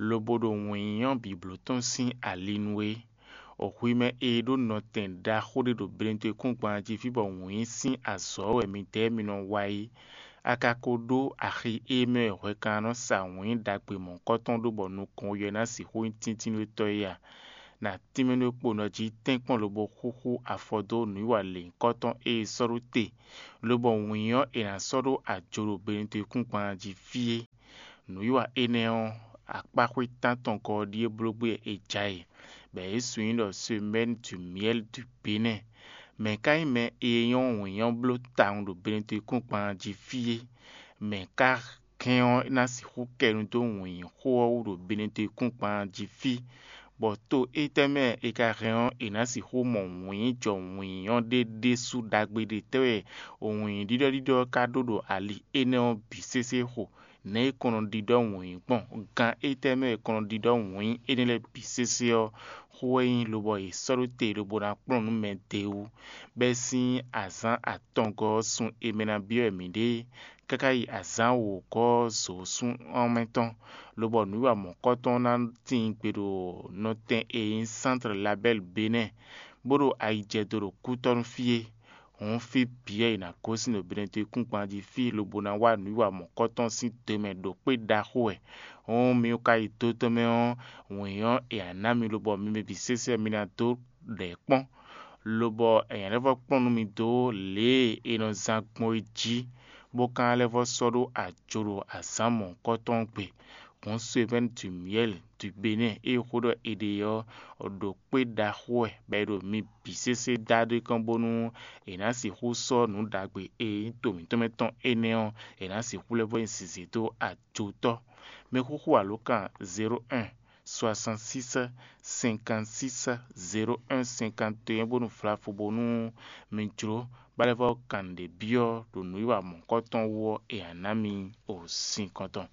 lobo ɖo wǐnyínyɔ́ bǐbló tɔn sín ali nu é, o hwi mɛ e ɖó nɔtɛn ɖaxó ɖé ɖo Benetɔn-e-kúngban jí fí bɔ wǐnyí sín azɔ̌ wɛ midɛɛ mi nɔ wa é. A ka ko ɖó axi e mɛ wɛ hwɛkannɔ sa wǐnyí ɖagbe mɔ̌kɔtɔn ɖó bɔ nukɔn yɔ ná sixú nyí tíntínnúwetɔ́ é a? Nǎ tínmɛ nú kponɔ jí tɛ́nkpɔ́n lobo xúxú afɔ dó nǔwiwa lěhunkɔtɔn e è sɔ́ ɖó te, lobɔ wǐn ɔ́ è nǎ sɔ́ ɖó ajo ɖo Benetɔn-e-kúngban jí fí é. Nǔwiwa énɛ́ ɔ́, akpáxwé tántɔn gɔ́ ɔ́ ɖíe bló gbé wɛ è ja e, bɔ yě sun nyí ɖɔ Semaine du Miel du Bénin. Mɛ̌ ka nyí mɛ e nyɔ́ wǐn ɔ́ bló tawun ɖo Benetɔn-e-kúngban jí fí é? Mɛ̌ ka hɛn ɔ́ ná sixú kɛ nu dó wǐn xó ɔ́ wú ɖo Benetɔn-e-kúngban jí fí, bɔ to étɛ́ mɛ è ka hɛn ɔ́, è nǎ sixú mɔ wǐn jɔ wǐn ɔ́ ɖé ɖésú ɖagbe ɖé tɛ́ wɛ wǐn ɖiɖɔ́ɖiɖɔ ɔ́ ka ɖó ɖo ali énɛ́ ɔ́ bǐ sésé xo? Nɛ̌ è kɔn nɔ ɖiɖɔ wǐn gbɔn? Gan étɛ́ mɛ è kɔn nɔ ɖiɖɔ wǐn énɛ́ lɛ́ɛ bǐ sésé ɔ́, xó wɛ nyí lobɔ è sɔ́ ɖó te lobo ná kplɔ́n nú mɛ d'é wú. Bɛ́ sín azǎn atɔngɔ́ ɔ́ sun e mɛ ná byɔ́ wɛ mǐ ɖe káká yi azǎn wǒgɔ́ ɔ́ zǒsún ɔ́ mɛ tɔn, lobɔ nǔwiwa mɔ̌kɔtɔn ná tíin gbe ɖo nɔtɛn e nyí Sántre Labɛ́li Benɛ́ɛ, bó ɖo ayijɛdo ɖo kútɔ́ nú fí é. Hǔn fí bǐ wɛ è nǎ gosín ɖo Benetɔn-e-kúngban jí fí lobo ná wá nǔwiwa mɔ̌kɔtɔn sín do mɛ ɖo kpé ɖaxó wɛ. Hǔn mi ka yi do tɔn mɛ ɔ́, wǐn ɔ́ è nǎ ná mi lobɔ mi mɛ bǐ sésé ɔ́ mi ná dó ɖɛ̌ kpɔ́n, lobɔ è nǎ lɛ́ vɔ́ kplɔ́n nú mi dó lě e è nɔ zán gbɔn é jí, bó ka ná lɛ́ vɔ́ sɔ́ ɖó ajo ɖo azǎn mɔ̌hunkɔtɔn gbe. Hǔn Sovɛ́ni Dumiyɛ́li Dubenɛ́ɛ e xó ɖɔ è ɖe ɔ́ ɖo kpé ɖaxó wɛ, bɔ è ɖo mi bǐ sésé dá ɖó kɔn bónú è nǎ sixú sɔ́ nǔ ɖagbe e nyí to mǐtɔn mɛ tɔn énɛ́ ɔ́, è nǎ sixú lɛ́ vɔ́ nyi zǐzí dó ajotɔ́. Mɛxúxú alǒkan zéro un soixante-six cinquante-six zéro un cinquante et un bónú vlavo bónú mi jló bó lɛ́ vɔ́ kan nǔɖé byɔ́ ɖo nǔwiwa mɔ̌hunkɔtɔn wú ɔ́, è nǎ ná mi o sin kɔntɔn.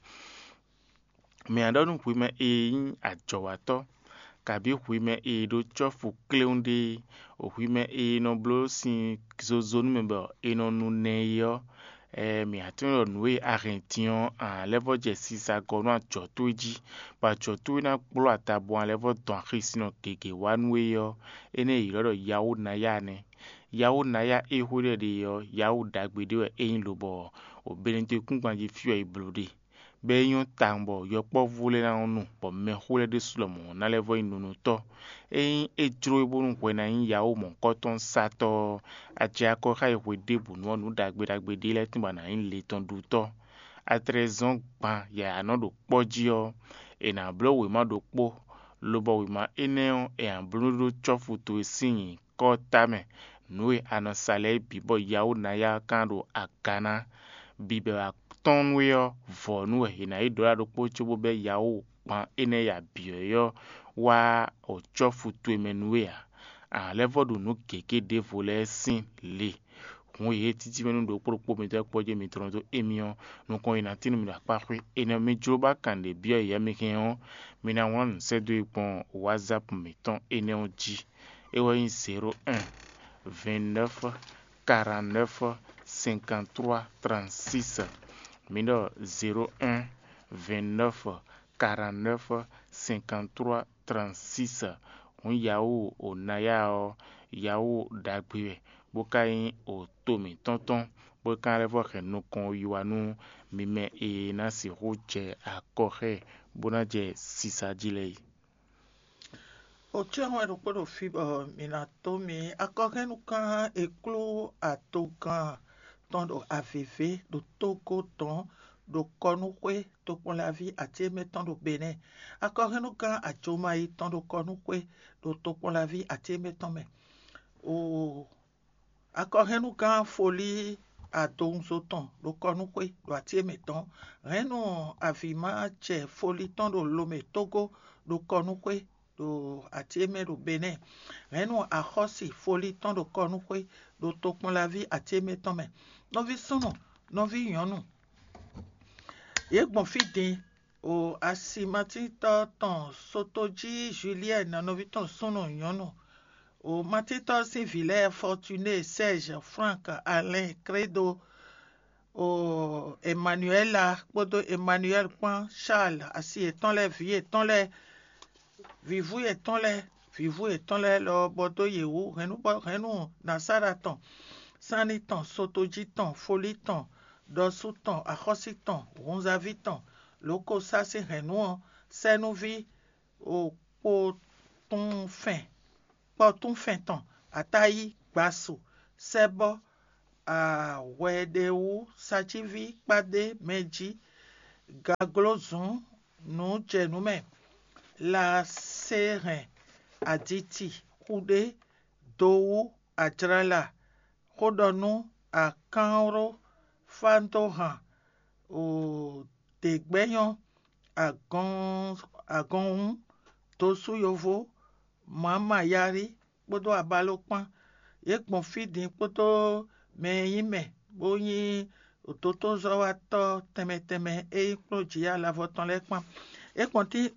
Mǐ ná ɖɔ nú hwi mɛ e nyí ajɔ̌watɔ́, kabǐ hwi mɛ e ɖó cɔ́fu kléwún ɖé, hwi mɛ e nɔ bló sin zozo nú mɛ bɔ è nɔ nu nɛ é ɔ́, mǐ ná tunwun ɖɔ nǔ e a hɛn din ɔ́, a nǎ lɛ́ vɔ́ jɛ sisa gɔ́ nú ajɔ̌ towe jí, bɔ ajɔ̌ towe ná kplɔ́ adabɔ a lɛ́ vɔ́ dɔn axisinɔ gěgé wá nú we ɔ́, énɛ́ è ylɔ́ ɖɔ Yawó Nayá nɛ́. Yawó Nayá e xwé ɖɔ è ɖe ɔ́, Yawó ɖagbe ɖé wɛ é nyí lobɔ o Benedekúngban jí fí wɛ è blǒ ɖe. Bɔ é nyɔ́ tawun bɔ yɔkpɔ́vú lɛ́ɛ ná nɔ nu, bɔ mɛxó lɛ́ɛ ɖésú lɔmɔ̌ ná lɛ́ vɔ́ nyí nunútɔ́. Ényí é jló we bónú hwɛ ná nyí Yawó mɔ̌hunkɔtɔn satɔ́ ɔ́, a jɛ akɔ xá yě hwe ɖěbǔnu ɔ́, nǔ ɖagbe ɖagbe ɖé lɛ́ɛ tɔn ba ná nyí le tɔn ɖutɔ́. A tlɛ zɔ́n gban yǎyá nɔ ɖo kpɔ́ jí ɔ́, è nǎ bló wěma ɖokpó, lobɔ wěma énɛ́ ɔ́, è nǎ bló ɖó cɔ́fu towe sín nyǐkɔ ɔ́ tamɛ. Nǔ e a nɔ sa lɛ́ɛ bǐ bɔ Yawó ná yá kán ɖo aga ná. Bǐbɛ́ wá tɔ́n nú we ɔ́, vɔ̌nu wɛ è nǎ yi ɖǒ ɖa ɖokpó cóbó bɛ́ Yawó gban énɛ́ ya bǐ ɔ́ wá o cɔ́fu towe mɛ nú we ǎ. A nǎ lɛ́ vɔ́ ɖo nǔ gěgé ɖěvo lɛ́ɛ sín le. Hǔn e títí mɛ nú ɖokpó ɖokpó mitɔn kpɔ́ jɛ mi tlɔ́n dó émí ɔ́, nukɔn e ná tín nú mi ɖo akpá xwé. Énɛ́ mi jló ba kan ɖě byɔ́ yě mi hɛn ɔ́, mi ná wlán nǔ sɛ́ dó e gbɔn WhatsApp mǐtɔn énɛ́ ɔ́ jí. É wɛ nyí zéro un vingt-neuf quarante-neuf cinquante-trois trente-six. Mi ɖɔ zéro un vingt-neuf quarante-neuf cinquante-trois trente-six. Hǔn Yawó o Nayá ɔ́, Yawó ɖagbe wɛ, bó ka nyí o to mǐtɔn tɔn, bó ka lɛ́ vɔ́ hɛn nukɔn yi wá nú mi mɛ e ná sixú jɛ akɔ xá ɛ bó ná jɛ sisa jí lɛ́ɛ é. Ocyɔ́n wɛ ɖokpó ɖo fí bɔ mǐ ná tó mì akɔhɛ́nnugán e kló atogán tɔn ɖo avǐvé ɖo Tógó tɔn ɖo kɔnúxwé tokpɔnlaví Atíémɛ tɔn ɖo Benɛ́ɛ. Akɔhɛ́nnugán Ajomayi tɔn ɖo kɔnúxwé ɖo tokpɔnlaví Atíémɛ tɔn mɛ. Oo, akɔhɛ́nnugán Folí adowunzo tɔn ɖo kɔnúxwé ɖo Atíémɛ tɔn. Hɛ̌nnu avǐmacɛ Folí tɔn ɖo Lomɛ Tógó ɖo kɔnúxwé ɖo Atíémɛ ɖo Benɛ́ɛ. Hɛ̌nnu axɔ́si Folí tɔn ɖo kɔnúxwé ɖo tokpɔnlaví Atíémɛ tɔn mɛ. Nɔví súnnu, nɔví nyɔ̌nu, yě gbɔn fí din. O asi Matíntɔ́ tɔn Sotojí Juliɛ́n nɔví tɔn súnnu nyɔ̌nu. O Matíntɔ́ sín vǐ lɛ́ɛ Fɔtuné, Sɛ́ɛzh, Flánk, Alɛ́n, Klédo, o Emanuɛla kpódó Emanuɛli kpán, Charles, asi yětɔn lɛ́ɛ, vǐ yětɔn lɛ́ɛ, vǐvú yětɔn lɛ́ɛ, vǐvú yětɔn lɛ́ɛ lɔ bɔ dó yě wú, hɛ̌nnu bɔ hɛ̌nnu Nasára tɔn, sánni tɔn, sotojí tɔn, folí tɔn, ɖɔsú tɔn, axɔ́sí tɔn, hunzaví tɔn, lǒ ko sá sín hɛ̌nnu ɔ́, sɛ́núví, o kpotúnfɛn kpɔtúnfɛn tɔn, atáyí, gbasu, sɛ́bɔ́, ahwɛɖewú, sacíví, kpádé, mɛjí, gaglózǔn, nǔjɛnǔmɛ, lasehɛn, aditi, xúɖé, dowú, ajlala, xóɖɔnú, akánwló, fántóhan, děgbɛ́nyɔ́, agɔnhún, dosú yovó, mǎmayárí kpódó abaló kpán. Yě gbɔn fí din kpódó mɛ e nyí mɛ bó nyí dotózɔ́watɔ́ tɛnmɛ tɛnmɛ e nyí kplɔ́njí alavɔ tɔn lɛ́ɛ kpán.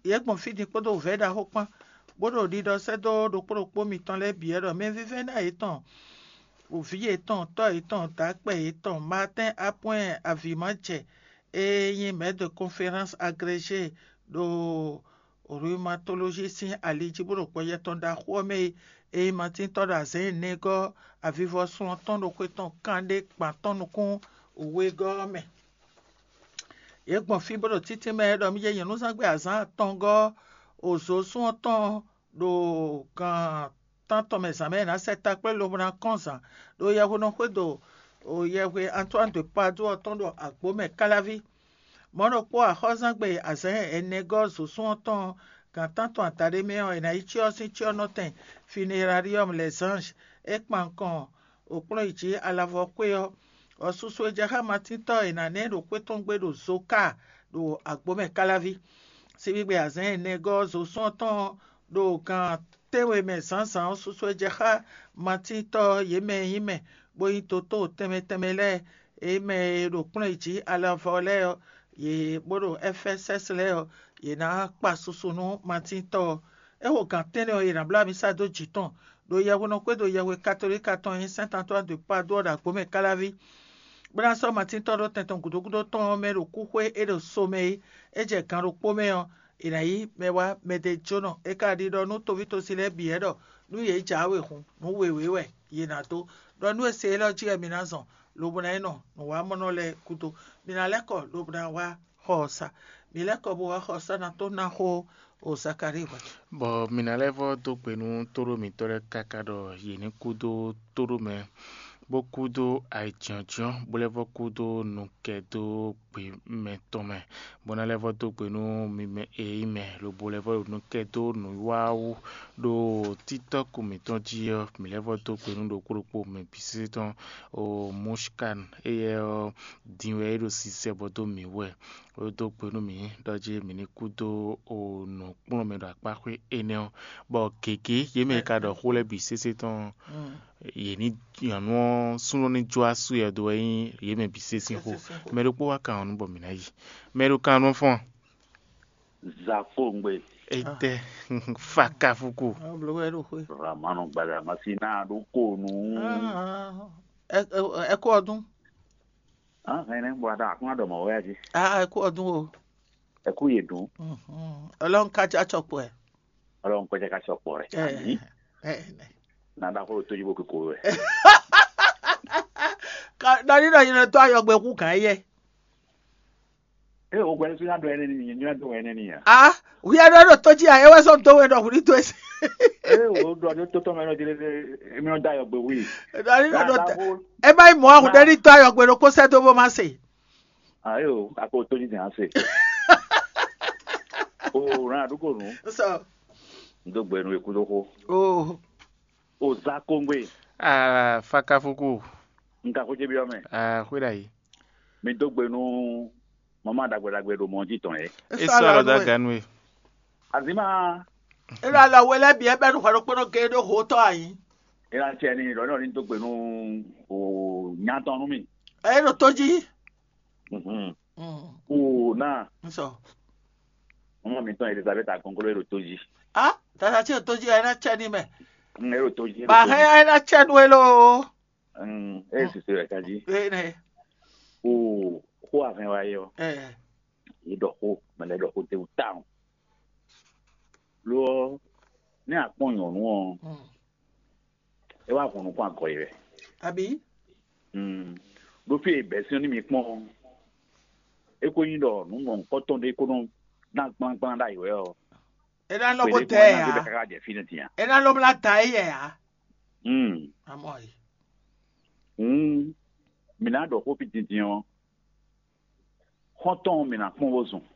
Yě gbɔn fí din kpódó wǔvɛ́ ɖaxó kpán, bó ɖo ɖiɖɔ sɛ́ dó ɖokpó ɖokpó mitɔn lɛ́ɛ bǐ wɛ ɖɔ mɛvívɛ́ná yětɔn, vǐ yětɔn, tɔ́ yětɔn, dǎkpɛ yětɔn, Martin Apwɛ́n Avǐmajɛ e nyí mɛ̌ de konfɛ́ránsi agrégé ɖo rhumatolóji sín ali jí bó ɖo gbɔjɛ tɔn ɖaxó ɔ́ mɛ e, e nyí Matín tɔ́ ɖo azɛ̌n nɛgɔ́ avivɔsun ɔ́ tɔn ɖo xwé tɔn kanɖé gban tɔn nukún wegɔ́ ɔ́ mɛ. Yě gbɔn fí bó ɖo títí mɛ ɖɔ mì jɛ nyɔ̌nuzángbe azǎn atɔngɔ́ ozǒsún ɔ́ tɔn ɖo gan tántɔn mɛ zǎn mɛ è nǎ sɛ takplé lobo ná kɔn zǎn ɖo yɛhwe nɔ xwedó yɛhwe Antoine de Padoue ɔ́ tɔn ɖo agbǒ mɛ káláví. Mɔ̌ ɖokpó axɔ́zán gbe azǎn ɛnɛ gɔ́ zǒsún ɔ́ tɔn gan tántɔn adaɖé mɛ ɔ́, è nǎ yi cyɔ ɔ́ sín cyɔ́nɔtɛn Funéraryɔ́mu les Anges. É kpan nukɔn wǒkplɔ́nyijǐ alavɔ xwé ɔ́, bɔ susu e jɛ xá Matín tɔ́ e è nǎ ná ɛ ɖo xwé tɔn gbe ɖo Zoka ɖo agbǒ mɛ káláví. Síbígbe azǎn ɛnɛ gɔ́ zǒsún ɔ́ tɔn ɖo gan tɛ́nwe mɛ zǎnzǎn ɔ́, susu e jɛ xá Matín tɔ́ yě mɛ e nyí mɛ, bó nyí dotóo tɛnmɛ tɛnmɛ lɛ́ɛ, yě mɛ e ɖo kplɔ́n yě jí alavɔ lɛ́ɛ ɔ́, yě bó ɖo Ɛfɛ́sɛ́si lɛ́ɛ ɔ́, yě ná kpa susu nú Matín tɔ́ ɔ́. É xo gǎn tɛ́nnɛ ɔ́, yě ná bló amisa dó jǐ tɔn ɖo yɛhwenɔ xwédo yɛhwe katolíka tɔn e nyí Sɛ́nt Antwáni de Padú ɔ́ ɖo agbǒ mɛ káláví, bó ná sɔ́ Matín tɔ́ ɖó tɛn tɔn gǔdo gúdo tɔn ɔ́ mɛ ɖo kúxwé e ɖo so mɛ é. É jɛ gan ɖokpó mɛ ɔ́, è nǎ yí mɛ wá mɛɖéjónɔ. É ka ɖiɖɔ nú toví tosi lɛ́ɛ bǐ wɛ ɖɔ nú yě jǎwe hun, nǔ wěwé wɛ yě ná dó, ɖɔ nú è se élɔ́ jí wɛ mi ná zɔn, lobo ná yi nɔ nǔwamɔnɔ lɛ́ɛ gúdo. Mi ná lɛ́ kɔ lobo ná wá xɔ ɔ́ sa. Mi lɛ́ kɔ bo wá xɔ ɔ́ sa ná tó ná xó o Zakalíi hwɛ. Bɔ mǐ ná lɛ́ vɔ́ dó gbe nú tóɖó mǐtɔn lɛ́ɛ káká ɖɔ yě ní kú dó tóɖó mɛ, bó kú dó ayǐjínjɔ́n, bó lɛ́ vɔ́ kú dó nukɛ́ dó gbe mɛtɔn mɛ, bó ná lɛ́ vɔ́ dó gbe nú mi mɛ e nyí mɛ, lobo lɛ́ vɔ́ ɖo nukɛ́ dó nǔwiwa wú ɖo títɔ́ kú mǐtɔn jí ɔ́, mǐ lɛ́ vɔ́ dó gbe nú ɖokpó ɖokpó mɛ bǐ sésé tɔn. O Mushkan, éyɛ́ ɔ́, din wɛ é ɖo sisɛ bɔ dó mǐ wú wɛ. Ó dó gbe nú mǐ ɖɔ jí mǐ ní kú dó o nǔkplɔ́nmɛ ɖo akpáxwé énɛ́ ɔ́, bɔ gěgé yě mɛ e ka ɖɔ xó lɛ́ɛ bǐ sésé tɔn ɔ́, yě ní nyɔ̌nu ɔ́ súnnu ní jó asú yɛ dó wɛ nyí yě mɛ bǐ sésé xó. Mɛ ɖokpó wá kan ɔ́ nú bɔ mǐ ná yi. Mɛ ɖo kan ɔ́ nú fɔ́n. Zakongbe. Etɛ fakafuku. Ramanu gbada masina ɖo ko nu. Ẹ kú ọdún. Hɛn nɛ bɔ ada akún adɔ mɔ wɛ adi. Ẹ kú ọdún o. Ẹ kú yè dùn. Ọlọ́run ká já tsọ pọ̀ ẹ̀. Ọlọ́run kọjá ká sọ pọ̀ rẹ̀. Àmì. Nàdá kó tó yíbo kókó rẹ̀. Dɔni dɔ yìnyɛn tó ayɔgbe kú gàn yɛ. Ee, o gbɛdɛ sɔnyà dɔ ɛnɛ ni, nyɛ dɔ ɛnɛ ni ya. Ah, wíyá dɔ dɔ tó jí a, ewé sɔn tó wɛ dɔ wuli tó esi. Ee, o dɔ ní tó tɔmɛ dɔ jẹlẹ dɛ, emi dɔ ayɔgbe wuli. Dɔni dɔ dɔ, ẹ má yi mɔ ahùn dɛ ní tó ayɔgbe dɔ kó sɛ tó bó má se. Ayo, a ko tó jí dɛ á se. O rán àdúgbò nù. Sọ. N tó gbẹnu ikú tó kó. O. O za kóngbé. Ah, fakafuku. N ka kó jẹbi ọmọ. Ah, xwé dà yìí. Mi dó gbe nú mama ɖagbe ɖagbe ɖo mɔ jí tɔn yɛ. E sɔ alɔ da ganu e. Azima. E lɔ alɔ wele bi ebe nu xɔɖo kpɔnɔ ge ɖo ho tɔ ayi. E la tiɛ ni lɔ ne ɔ ni dó gbe nú o nyatɔn nú mi. E ɖo tó jí. Mhm. Mm. O na. N sɔ. Mama mi tɔn Elizabeth akɔnkɔlɔ e ɖo tó jí. Ah, tata tí o tó jí ɛ na tiɛ ni mɛ. N e ɖo tó jí. Ba hɛn ɛ na tiɛ nu e lo. Mm, e sisi wɛ ka jí. E ne. O, xó avɛn wa é ɔ́, ɛ yě ɖɔ xó, mɛ lɛ́ɛ ɖɔ xó tɛ́ntin tawun. Lo ɔ́, nɛ́ a kpɔ́n nyɔ̌nu ɔ́, é wá hɔn nukún agɔ yi wɛ. Abǐ? Ɖó fí e bɛ̌ sín ɔ́ ní mi kpɔ́n ɔ́, é ko nyí ɖɔ nǔ mɔ̌hunkɔtɔn ɖé ko nɔ ná gblágbla ɖ'ayǐ wɛ ɔ́, é ná nɔ ko tɛ ɛ ǎ. Káká jɛ fínɛ́ din a? É ná nɔ blá ta éyɛ ǎ. Amɔ yi. Hǔn mǐ ná ɖɔ xó fí dindin ɔ́, xɔ́ntɔn ɔ́ mǐ ná kpɔ́n bó zun.